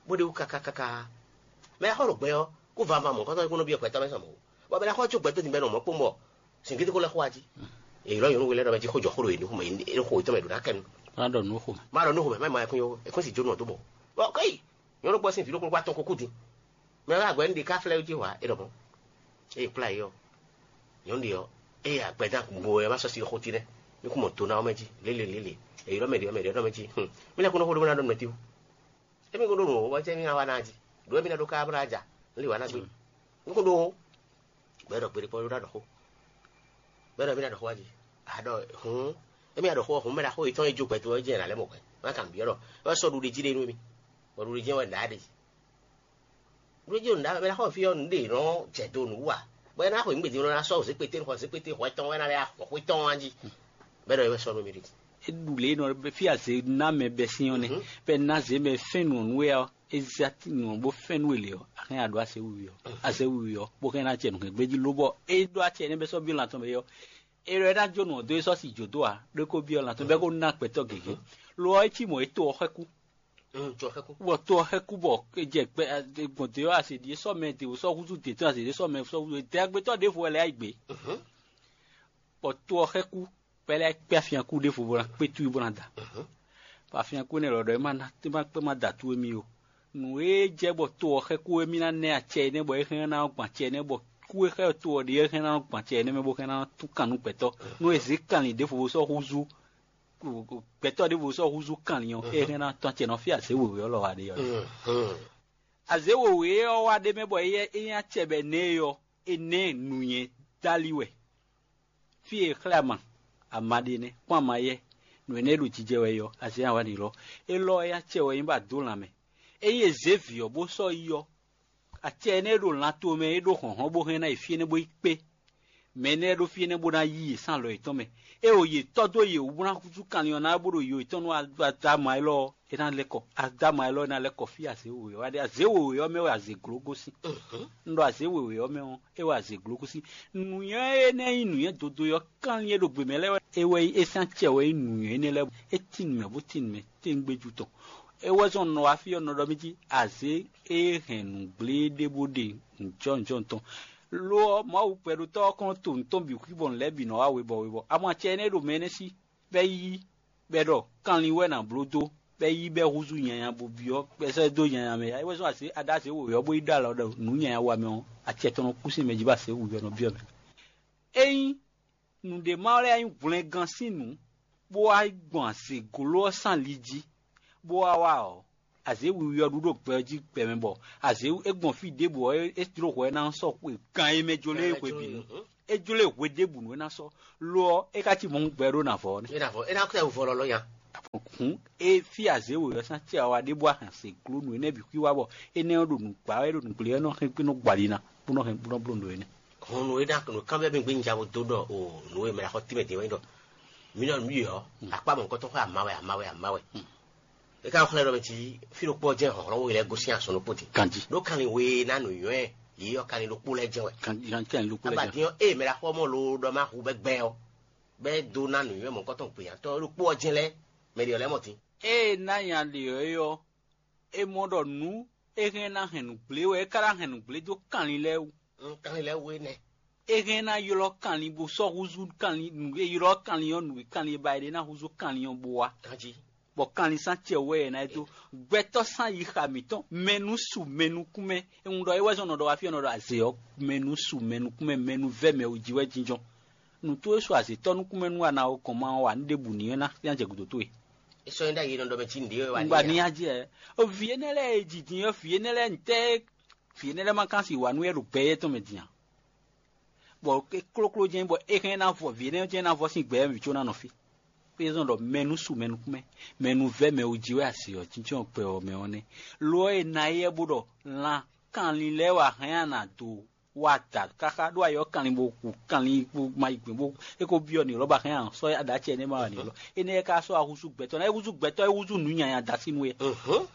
bó ɖe wú káká káká. Mɛ e xɔ ɖo gbɛ ɔ́, kó vava mɔ̌hunkɔtɔn é kó nɔ byɔ́ gbɛtɔ́ mɛ sɔ mɔ̌ ó. Bɔ mɛ ɖé xɔ có gbɛtɔ́ din bɔ é nɔ mɔ̌ kpɔ́n bɔ sin gédé kó lɛ́ xo wá jí. È ylɔ́ nyɔ̌nu we lɛ́ɛ ɖɔ mɛ jí xó jɔ xó ɖo yě nukún mɛ, é xo yětɔn mɛ ɖo ná kɛ nu. Má ɖɔ nǔ xo mɛ. Má ɖɔ nǔ xo mɛ, má ma yɛ kún yó, è kún si jó nú ɔ dó bɔ. Bɔ kéyi nyɔ̌nu gbɔ sín vǐ ɖokpó wá tɔn kúkú din. Mɛ wá agbɛ̌ nú ɖi ká flɛ́ jí hwa é ɖɔ mɔ̌. Ée kplá yě ɔ́, nyɔ̌nu ɖě ɔ́, ée agbɛdán gbo ɛ má sɔ́ sí xótí nɛ́, mí kún mɔ do ná ɔ́ mɛ jí lélelélé. È ylɔ́ mɛ ɖě ɔ́, mɛ ɖě ɔ́ ɖɔ mɛ jí: Mí lɛ́ kún nɔ xó ɖó bó ná ɖɔ nǔ mɛ tíwú. Émí kún ɖó nǔ wǒ, bɔ jɛ́n mí ná wá ná jí. Ɖǒ émí ná ɖó ká bó ná ja, un lǐ wǎ ná gbé. Un kún ɖó wǒ, bɔ é ɖɔ gbeɖé kpɔ́ ɖó ná ɖɔ xó. Bɔ é ɖɔ émí ná ɖɔ xó wá jí. A ɖɔ hǔn, émí ná ɖɔ xó ɔ́, hǔn mɛ ná xó yětɔn e jó gbɛtɔ́ ɔ́ jɛ ná lɛ́ mɔ hwɛ. Má kan byɔ́ ɖɔ é wá sɔ́ ɖuɖi jí ɖe nú émí, bɔ ɖuɖi jɛ́n wɛ nǎ ɖe jí. Ɖuɖi jí ɖo nǎ mɛ ná xó fí ɔ́, nǔ ɖe nɔ jɛ do nǔ wú a? Bɔ é ná xo nyǐgbe din ná sɔ́ zěkpété nú xɔ zěkpété hwɛ tɔn wɛ ná lɛ́ xɔ xwé tɔn wá jí. Bɔ é ɖɔ é wɛ sɔ́ nú émí ɖe jí. É ɖu lě e nɔ ɖɔ fí azě ná mɛ bɛ́ sín ɔ́ nɛ́, bɔ é ná zě mɛ fɛ́n nǔ ɔ́ nú we ɔ́, é zé nǔ ɔ́ bó fɛ́n nú we lě ɔ́, a hɛn a ɖǒ azě wiwi ɔ́, azě wiwi ɔ́, bó hɛn ná acɛ nǔ hɛn gbé jí lóbɔ é ɖó acɛ énɛ́ bɛ́ sɔ́ byɔ́ lan tɔn mɛ é ɔ́, é ɖɔ é ná jó nǔ ɔ́ dó é sɔ́ si jǒ dó ǎ, ɖó é kó byɔ́ lan tɔn bɔ é kó ná gbɛtɔ́ gěgé. Lo ɔ́, é cí mɔ̌ é to ɔ́ xɛ́ kú, bɔ to ɔ́ xɛ́ kú bɔ é jɛ gbɛ gbɔn dě ɔ́, azě ɖíe sɔ́ mɛ dě sɔ́ húzú dě tɔn, azě ɖíe sɔ́ mɛ sɔ́ húzú dě agbetɔ́ ɖěvo wɛ lɛ́ yá yi gbě. Bɔ to ɔ́ xɛ́ kú, bɔ é lɛ́ kpé afyán kú ɖěvo bó ná kpé tú bó ná da. Bɔ afyán kú énɛ́ lɔ ɖɔ é má ná é má kpé má da tú émí o. Nǔ e jɛ bɔ to ɔ́ xɛ́ kú émí ná nɛ́ acɛ énɛ́ bɔ é hɛn ná gbɔn acɛ énɛ́ bɔ kú e xɛ́ to ɔ́ ɖe é hɛn ná gbɔn acɛ énɛ́ mɛ bó hɛn ná tún kan nú gbɛtɔ́. Nú e zě kanlin ɖěvo sɔ́ húzú gbɛtɔ́ ɖěvo sɔ́ húzú kanlin ɔ́, é hɛn ná tɔ́n acɛ nɔ fí azě wěwé ɔ́ lɔ wá ɖe ɔ́. Azě wěwé ɔ́ wá ɖ'é mɛ bɔ é nyí acɛ bɔ è nɛ́ ɛ ɔ́, è nɛ́ nǔnywɛ́ dali wɛ. Fí e è xlɛ́ ama, ama ɖe nɛ́, kpɔ́n ama yɛ́, nǔ énɛ́ e ɖo jijɛ wɛ é ɔ́, azě ǎ wá ɖi lɔ. Élɔ́ ɔ́, é nyí acɛ wɛ é nyí bɔ a dǒ lanmɛ. Ényí è zě vǐ ɔ́ bó sɔ́ yi ɔ́, acɛ énɛ́ e ɖo lan tomɛ é ɖó hlɔ̌nhlɔ́n bó hɛn ná yi fí énɛ́ bó yi kpé. Mɛ énɛ́ ɖó fí énɛ́ bó ná yí yě sín alɔ yětɔn mɛ. É o yě tɔ́ dó yě wú bó ná húzú kanlin ɔ́ ná bó ɖo yo yětɔn nú Adama élɔ́ ɔ́, é ná lɛ́ kɔ. Adama élɔ́ ná lɛ́ kɔ fí azě wěwé ɔ́ wá ɖe. Azě wěwé ɔ́ mɛ wɛ azě gló gosín. Un ɖɔ azě wěwé ɔ́ mɛ ɔ́, é wɛ azě gló gosín. Nǔnywɛ́ énɛ́ nyí nǔnywɛ́ dodo ɔ́ kanlin e ɖo gbě mɛ lɛ́ɛ wɛ. É wɛ nyí é sín acɛ wɛ nyí nǔnywɛ́ énɛ́ lɛ́ɛ. É tín mɛ bó tín mɛ téŋgbéjú tɔn. É wɛ zɔn nɔ wá fí ɔ́ nɔ ɖɔ mì jí azě e hɛn nǔgblé ɖé bó ɖe nǔjɔnǔjɔnǔ tɔn. Lo ɔ́, Mawu gbɛɖotɔ́ ɔ́ kɔn to nǔ tɔn bǐ xwí bɔ nǔ lɛ́ɛ bǐ nɔ wá webɔ webɔ. Amɔ acɛ énɛ́ e ɖo mɛ énɛ́ sí, bɔ é ɖɔ kanlin wɛ è nǎ bló dó, bɔ é yí bɔ é húzú nyanya bó byɔ́, bɔ é sɔ́ dó nyanya mɛ ǎ. É wɛ zɔ́n azě aɖázě wěwé ɔ́ bó yi ɖó alɔ ɖɔ nǔ nyanya wa mɛ ɔ́, acɛ tɔn nɔ kú sín mɛ jí bɔ azě wěwé ɔ́ nɔ byɔ́ mɛ. Ényí nǔɖé ma lɛ́ nyí hwlɛngán sín nǔ, bó wá gbɔn azě gló ɔ́ sín ali jí, bó wá wá ɔ́, azě wiwi ɔ́ ɖu ɖo gbɛ ɔ́ jí gbɛmɛ bɔ azě é gbɔn fí ɖěbǔ ɔ́, é jló hwɛ ná sɔ́ xwe gan e mɛ jló lɛ́ɛ hwebǐnu. É jló e hwe ɖěbǔ nú é ná sɔ́. Lo ɔ́, é ka cí mɔ̌ gbɛ ɖó nǎ vɔ ɔ́ nɛ́. É ná vɔ, é ná kɛ wǔvɔ lɔlɔ́ nya. Hǔn é fí azě wǒyɔ sín acɛ wa ɖé bó wá hɛn se gló nǔ énɛ́ bǐ xwíwá bɔ énɛ́ ɔ́ ɖo nǔgbá wɛ ɖo nǔgblé wɛ nɔ hɛn gbé nɔ gbɔ ali ná bó nɔ hɛn bó nɔ bló nǔ énɛ́. Hɔn nǔ e ná nǔ kanbyɔ́ mì gbé un ja bo dó ɖɔ o nǔ e mɛ ɖo xɔ tínmɛ din wɛ nyí ɖɔ mǐ nɔ nǔ yi ɔ́, akpá mɔ̌hunkɔtɔn xɔ ama wɛ ama wɛ ama wɛ. É ka xlɛ́ ɖɔ mɛ jí fí ɖokpó ɔ́ jɛ́n hlɔ̌nhlɔ́n we lɛ́ɛ gosín azɔn ɖokpó din. Ganjí. Ɖó kanlin we e ná nǔnywɛ́ yě ɔ́ kanlin ɖokpó lɛ́ɛ jɛ́n wɛ. Ganjí, kanlin ɖokpó lɛ́ɛ jɛ́n. Abadín ɔ́, ée mɛ ɖaxó ɔ́ mɔ loo ɖɔ má hu bɛ́ gbɛ ɔ́, bɛ́ dó ná nǔnywɛ́ mɔ̌hunkɔtɔn gbeyǎtɔ́ ɖokpó ɔ́ jɛ́n lɛ́ɛ mɛ ɖě ɔ́ lɛ́ɛ mɔ din. Ée ná nya ɖě ɔ́ é ɔ́, é mɔ ɖɔ nǔ é hɛn ná hɛn nǔgblé wɛ é ka ná hɛn nǔgblé dó kanlin lɛ́ɛ wú. Kanlin lɛ́ɛ wú énɛ́. É hɛn ná ylɔ́ kanlin bó sɔ́ húzú kanlin nǔ e ylɔ́ kanlin ɔ́ nǔ e kanlin e ba é ɖe ná húzú kanlin ɔ́ bó wá. Ganjí. Bɔ kanlin sán cɛ wɛ ɛ ná é dó. Gbɛtɔ́ sán yi xa mǐtɔn mɛnú su mɛnú kún mɛ. È ŋun ɖɔ é wɛ zɔn nɔ ɖɔ wá fí ɔ́ nɔ ɖɔ azě ɔ́ mɛnú su mɛnú kún mɛ mɛnú vɛ́ mɛ wú jí wɛ jínjɔ́n. Nǔ towe su azětɔ́ nukúnmɛ nú a na ɔ́ gɔn ma ɔ́ wa nú ɖěbǔ ní ɔ́ ná ná jɛ gǔdo towe. É sɔ́ nyí ɖ'ayǐ nɔ ɖɔ mɛ cí nǔɖé wɛ wá ní. Ŋgba ní ya jɛ. Vǐ énɛ́ lɛ́ɛ e jǐ din ɔ́ vǐ énɛ́ lɛ́ɛ ntɛ́ vǐ énɛ́ lɛ́ɛ ma kán si wǎ nú wɛ ɖo gbɛ éyɛ́ tɔn mɛ din a? Bɔ é klókló jɛ́n bɔ é hɛn ná vɔ vǐ énɛ́ jɛ́n ná vɔ sín gbɛ ɔ́ mǐ có ná nɔ fí. Pé zɔn ɖɔ mɛnú su mɛnú kúmɛ mɛnú vɛ́ mɛ wú jí wɛ asi ɔ́ jínjɔ́n gbɛ ɔ́ mɛ ɔ́ nɛ́. Lo ɔ́ e ná éyɛ́ bó ɖɔ lan kanlin lɛ́ɛ wá hɛn a nǎ dó wa da káká ɖó ayɔ kanlin bó hu kanlin bó ma yi gbɛn bó é ko byɔ́ ni lɔ́ba hɛn a sɔ́ aɖa acɛ énɛ́ ma wà ni lɔ énɛ́ ka sɔ́ ahúzú gbɛtɔ́ ná é húzú gbɛtɔ́ é húzú nǔ nyanya da sín nú é.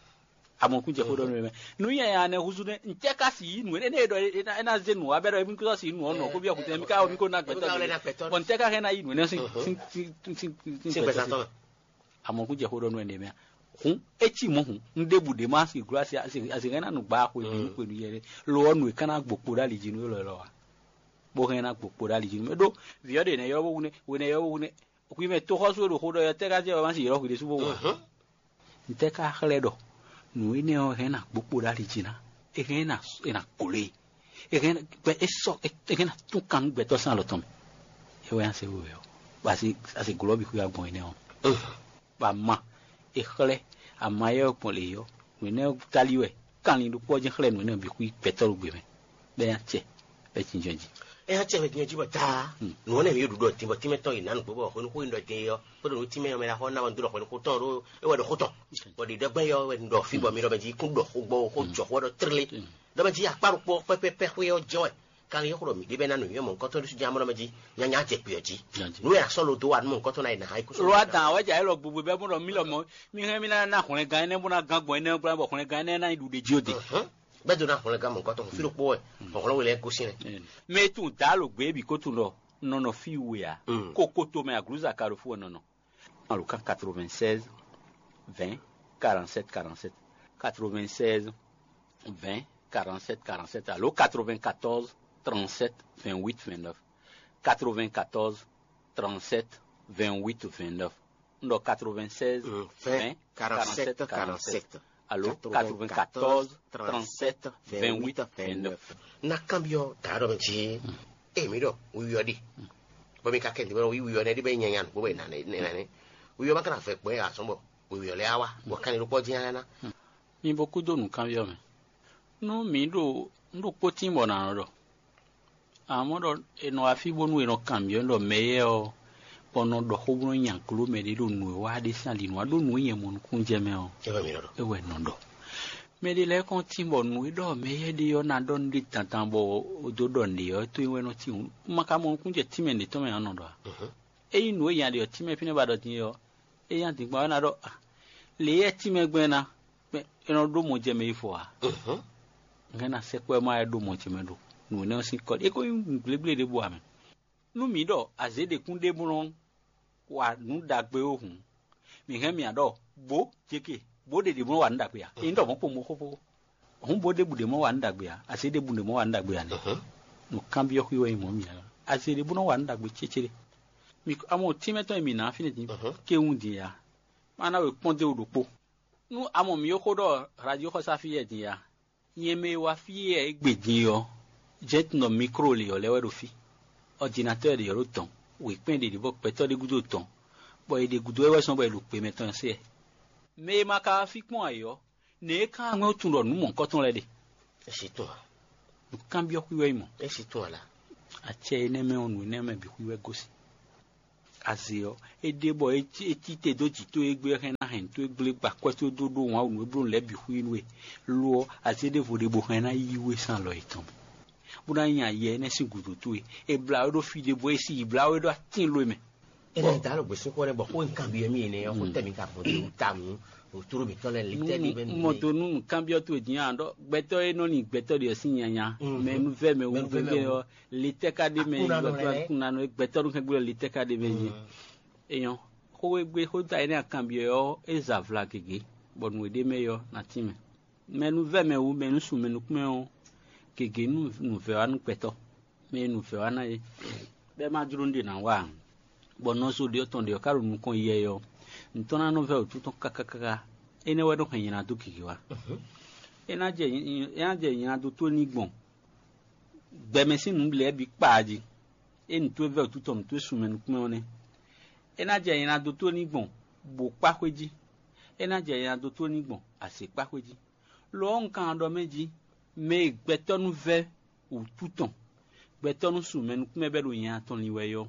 Amɔkún jɛ xó ɖɔ nú mɛ nǔ nyanya nɛ húzú nɛ ntɛ ka si yí nǔ énɛ́ é ɖɔ é ná zé nǔ abɛ ɖɔ émi kó si nǔ ɔnɔ kó byɔ́ kutɛ mi ka mi kó ná gbɛtɔ́ bɔ ntɛ ka hɛn ná yí nǔ énɛ́ sín sín sín sín gbɛtɔ́. Amɔkún jɛ xó ɖɔ nú ɛnɛ mɛ. Hǔn é cí mɔ̌ hǔn un ɖěbǔ ɖě má si gló asi asi asi hɛn ná nǔgbá xwe nú xwe nú yɛ ɖé lo ɔ́ nǔ e ká ná gbo kpo ɖó ali jí nú élɔ́ élɔ́ wa bó hɛn ná gbo kpo ɖó ali jí nú mɛ ɖó vǐ ɔ́ ɖe nɛ ylɔ́ bó wu nɛ hwe nɛ ylɔ́ bó wu nɛ hwi mɛ toxɔ́sú e ɖo xó ɖɔ ɔ́ tɛ́ ká jɛ wɛ má si ylɔ́ hwi ɖésú bó wa. Ntɛ́ ká xlɛ́ ɖɔ nǔ énɛ́ ɔ́ hɛn ná gbo kpo ɖó ali jí ná é hɛn ná é ná glo e é hɛn gbɛ é sɔ é hɛn ná tún kan nú gbɛtɔ́ sín alɔ tɔn mɛ. É wɛ ná se wewɛ ɔ́ bɔ asi asi glɔ́ bǐ xwíwá gbɔn énɛ́ ɔ́. Bɔ ama è xlɛ́ ama éyɛ́ ɔ́ gbɔn lě ɔ́, nǔ énɛ́ ɔ́ táli wɛ kanlin ɖokpó ɔ́ jɛ́n xlɛ́ nǔ énɛ́ ɔ́ bǐ xwí gbɛtɔ́ ɖo gbe mɛ, bɔ é nya acɛ bɔ é jínjɔ́n jí. É nya acɛ bɔ é jínjɔ́n jí bɔ taa nǔ ɔ́ nɛ mǐ ɖu ɖɔ din bɔ tínmɛ tɔn yi nǎ nǔgbó bɔ hwenu xó yi ɖɔ din é ɔ́, xó ɖo nú tínmɛ ɔ́ mɛ ná xɔ ná wɛ un dó ɖɔ hwenu xó tɔn ɖó é wɛ ɖɔ xó tɔn. Bɔ ɖiɖɔgbɛ́n yɔ wɛ un ɖɔ fí bɔ mi ɖɔ mɛ jí kún ɖɔ xó gbɔ xó jɔ xó wɛ ɖɔ tlélé. Ɖɔ mɛ jí akpá ɖokpó ɔ́ pɛ́pɛ́pɛ́ xwé ɔ́ jɛ́n wɛ. Kanlin e xo ɖɔ mǐ ɖe bɛ ná nǔnywɛ́ mɔ̌hunkɔtɔn ɖésú jɛ́n amɔ́ mɛ jí nyanya jɛ kpǐ ɔ́ jí. Nǔ e a sɔ́ lo dó wa nú mɔ̌hunkɔtɔn ná yi nǎ ha yi kúsú. Lo wa dǎn wɛ jɛ élɔ́ gbogbo bɛ́ bó ɖɔ mí lɔmɔ̌ mí hɛn mí ná ná hwlɛngán énɛ́ bó ná gán gbɔn énɛ́ gbla bɔ hwlɛngán énɛ́ ná nyí ɖuɖe jí ó de. Bɛ́ dó ná hwlɛngán mɔ̌hunkɔtɔn fí ɖokpó wɛ hlɔ̌nhlɔ́n we lɛ́ɛ gosín nɛ́. Mɛ e tunwun dǎ lo gbě bǐ ko tunwun ɖɔ nɔ nɔ fí we ǎ. Kokoto mɛ aglǔza ka ɖo fú wɛ nɔ nɔ. Alo kan quatre-vingt-seize vingt quarante-sept quarante-sept, quatre-vingt-seize vingt quarante-sept quarante-sept alo quatre-vingt-quatorze trente-sept vingt-huit vingt-neuf, quatre-vingt-quatorze trente-sept vingt-huit vingt-neuf. Un ɖɔ quatre-vingt-seize vingt quarante-sept quarante-sept alo quatre-vingt-quatorze trente-sept vingt-huit vingt-neuf. Na kanbyɔ́ dǎ ɖɔ mɛ jí ée mǐ ɖɔ wiwi ɔ́ ɖi bɔ mi ka kɛ ntɛ́ bɔ wiwi ɔ́ nɛ́ ɖi bɛ nyanya nǔgbó bɛ nane nane wiwi ɔ́ ma ka na vɛ gbɔn ya azɔn bɔ wiwi ɔ́ lɛ á wá bɔ kanni ɖokpɔ dín á ná. Mi bo kúdó nǔkanbyɔ́ mɛ. Nú mǐ ɖo nú ɖokpó tín bɔ nǎ nɔ ɖɔ amɔ̌ ɖɔ è nɔ wá fí bónú è nɔ kanbyɔ́ ɖɔ mɛ éyɛ́ ɔ́ bɔ nɔ ɖɔ xó bó nɔ nya gló mɛ ɖé ɖo nǔ e wá ɖe sín ali nǔ wá ɖó nǔ e nyɛ mɔ nukúnnú jɛ mɛ ɔ́. É wɛ nɔ ɖɔ. Mɛ ɖé lɛ́ɛ kɔn tín bɔ nǔ e ɖɔ mɛ éyɛ́ ɖe ɔ́ ná ɖɔ nú ɖé dandan bɔ è dó ɖɔ nǔɖé ɔ́ tó é wɛ nɔ tín hǔn ma ka mɔ nukúnnú jɛ tínmɛ ɖě tɔn mɛ ǎ nɔ ɖɔ ǎ. Ényí nǔ e nya ɖe ɔ́ tínmɛ fínɛ́ ba ɖɔ din é ɔ́, é nya dǐnkpɔ́n ɔ́ ná ɖɔ lě e tínmɛ gbɛn ná é nɔ ɖó mɔ jɛ mɛ yi fɔ ǎ. Hɛn ná sɛkpɔ́ ɛ má wɛ ɖó mɔ ce mɛ ɖo nǔ énɛ́ ɔ́ sín kɔ é ko nyí nǔgblégblé ɖěbǔ ǎ mɛ. Nú mǐ ɖɔ azě ɖě kún ɖe bó nɔ́ wa nǔ ɖagbe ó hǔn, mǐ hɛn mì ɖɔ bǒ jeke bǒ ɖe ɖě bó nɔ́ wa nǔ ɖagbe ǎ. Ényí ɖɔ mɔ̌ kpo mɔ xóxó hǔn bó ɖěbǔ ɖě mɔ wa nǔ ɖagbe ǎ, azě ɖěbǔ ɖě mɔ wa nǔ ɖagbe ǎ nɛ́. Nǔ kanbyɔ́ xwí wɛ nyí mɔ̌ mǐ ǎ. Azě ɖě bó nɔ́ wa nǔ ɖagbe cécéɖé. Mǐ amɔ tínmɛ tɔn e mǐ ná fínɛ́ din kéwún din ǎ. Má ná we kpɔ́n dó wú ɖokpó. Nú a mɔ mǐ e xó ɖɔ radio xɔsá fí yɛ din ya, nyɛ mɛ e wá fí yɛ é gbe din ɔ́, jɛ́n tunɔ mikro lě ɔ́ lɛ́ wɛ ɖo fí. Ɔdinatɔ́ ɖě ɔ́ ɖo dɔ̌n, wěkpɛ́n ɖě ɖě bɔ gbɛtɔ́ ɖé gúdo dɔ̌n, bɔ è ɖe gúdo wɛ wɛ zɔ́n bɔ è ɖo gbe mɛ tɔn se ɛ. Mɛ e ma ka wá fí kpɔ́n ayǐ ɔ́, nɛ̌ é ka wá ŋwɛ́ tunwun ɖɔ nǔ mɔ̌hunkɔtɔn lɛ́ɛ ɖe? É si tunwun a? Nǔkanbyɔ́ xwí wɛ é mɔ. É si tunwun a la? Acɛ énɛ́ mɛ ɔ́, nǔ énɛ́ mɛ bǐ xwí wɛ gosín. Azě ɔ́, é ɖe bɔ é cí te dó jǐ towe gbé wɛ hɛn ná hɛn nǔ towe gblé gba akwɛ́ towe dó ɖó wǎn wǔ nú é bló nǔ lɛ́ɛ bǐ xwí nú we, lo ɔ́, azě ɖěvo ɖe bó hɛn ná yí we sín alɔ yětɔn mɛ, bó ná nyi ayɛ énɛ́ sín gǔdo towe. È blǎ we ɖó fí ɖé bɔ é sí yi blǎ we ɖó atín lo e mɛ. Énɛ́ da ɖo gběsúnxó nɛ́ bɔ xó e un kanbyɔ́ mì énɛ́ ɔ́, xó tɛ́ mǐ ka gbɔn dó wú tawun ɖo tló mǐtɔn lɛ́ɛ lě tɛ́ ɖi bɛ́ nú mɔ dó nú nǔkanbyɔ́ towe din ǎ ɖɔ gbɛtɔ́ e nɔ nyi gbɛtɔ́ ɖě ɔ́ sín nyanya, mɛ nú vɛ́ mɛ wú Mɛ nú vɛ́ mɛ gbɛgbɛ wú. Ɔ́, le tɛ́ ka ɖ'é mɛ Aklúnɔ nɔ lɛ́ɛ. Aklúnɔ nɔ gbɛtɔ́ nú kɛ́gbé ɔ́, le tɛ́ ka ɖ'é mɛ jí? Éyɔ́, xó e gbé xó ta énɛ́ akanbyɔ́ ɔ́, é za vla gěgé, bɔ nǔ e ɖ'é mɛ é ɔ́, ná tín mɛ. Mɛ nú vɛ́ mɛ wú, mɛ nú sun mɛ nukún mɛ ɔ́, gěgé nú nǔvɛ́ wá nú gbɛtɔ́, mɛ e nǔvɛ́ wá ná é, bɔ é ma jló nú ɖě ná wa ǎ, bɔ nɔzo ɖě ɔ́ tɔn ɖě ɔ́ ka ɖo nukɔn yɛ ɔ́, nǔ tɔn ná nɔ vɛ́ wǔtu tɔn káká káká, énɛ́ wɛ nɔ hɛn nylá dó gěgé wá. É ná jɛ é ná jɛ nylá dó tó ní gbɔn gbɛmɛ sín nǔ lɛ́ɛ bǐ kpaa jí. É nǔ towe vɛ́ wǔtu tɔn nǔ towe sun mɛ nukún mɛ ɔ́ nɛ́. É ná jɛ nylá dó tó ní gbɔn bǒ kpá xwé jí. É ná jɛ nylá dó tó ní gbɔn azě kpá xwé jí. Lo ɔ́, un kan ɖɔ mɛ jí, mɛ e gbɛtɔ́ nú vɛ́ wǔtu tɔn, gbɛtɔ́ nú sun mɛ nukún mɛ bɛ́ ɖo nya tɔn lin wɛ é ɔ́,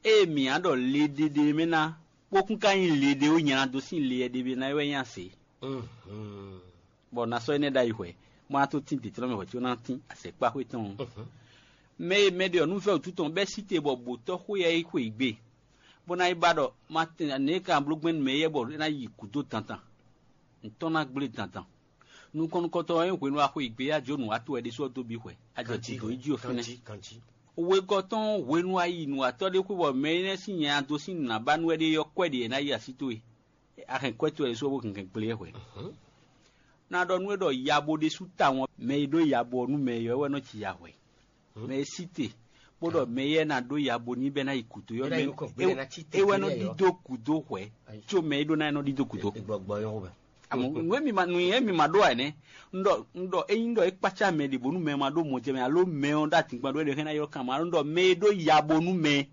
ée mǐ á ɖɔ le ɖéɖé mɛ ná, bó kún ka nyí le ɖé ó nylá dó sín le e ɖé mɛ ná é wɛ nyí azě. Bɔ ná sɔ́ énɛ́ ɖ'ayǐ hwɛ̌, bó ná tó tín dǐndínlɔ́n mɛ hwɛ̌ có ná tín azɛ̌kpáxwé tɔn ɔ́. Mɛ e mɛ ɖe ɔ́ nú vɛ́ wǔtu tɔn bɛ́ sí te bɔ bǒtɔ́ xwé yɛ é xwe yi gbe, bó ná yi ba ɖɔ ma tɛn nɛ̌ è ka bló gbɛn nú mɛ éyɛ́ bɔ é ná yi gǔdo dandan, ntɔ́ ná gblé dandan. Nukɔn nukɔntɔn ɔ́, é hwenu e a xwe yi gbe é, a jó nǔ wá to wɛ ɖésú ɔ́ dó bǐ hwɛ, a jɛ gǔdo yi jí ɔ́ fínɛ́. Wegɔ́ tɔn hwenu a yi nǔwatɔ́ ɖé xwé bɔ mɛ énɛ́ sín nya dó sín nǔ ná ba nú wɛ ɖé ɔ́, kwɛ́ ɖě ná yi así towe. A hɛn kwɛ́ towe ɖésú ɔ́ bó hɛn hɛn gblé ɛ hwɛ. Ná ɖɔ nú we ɖɔ yabo ɖésú tawun ɔ́, mɛ e ɖó yabo ɔ́ nú mɛ e ɔ́ wɛ nɔ ji ya hwɛ. Mɛ e sí te, bó ɖɔ mɛ e ná ɖó yabo ní bɛ́ ná yi gǔdo ɔ́, é wɛ nɔ ɖídó gǔdo hwɛ, có mɛ e ɖó ná é nɔ ɖídó gǔdo. Àmọ́ nǔ e mi ma nǔ e mi ma ɖó ǎ nɛ́. Un ɖɔ un ɖɔ ényí ɖɔ é kpácá mɛ ɖě bónú mɛ ma ɖó mɔ jɛ mɛ alo mɛ ɔ́ ɖó adǐngban ɖó é ɖe xɛ́ ná ylɔ́ kan ma ɖɔ mɛ e ɖó yabo nú mɛ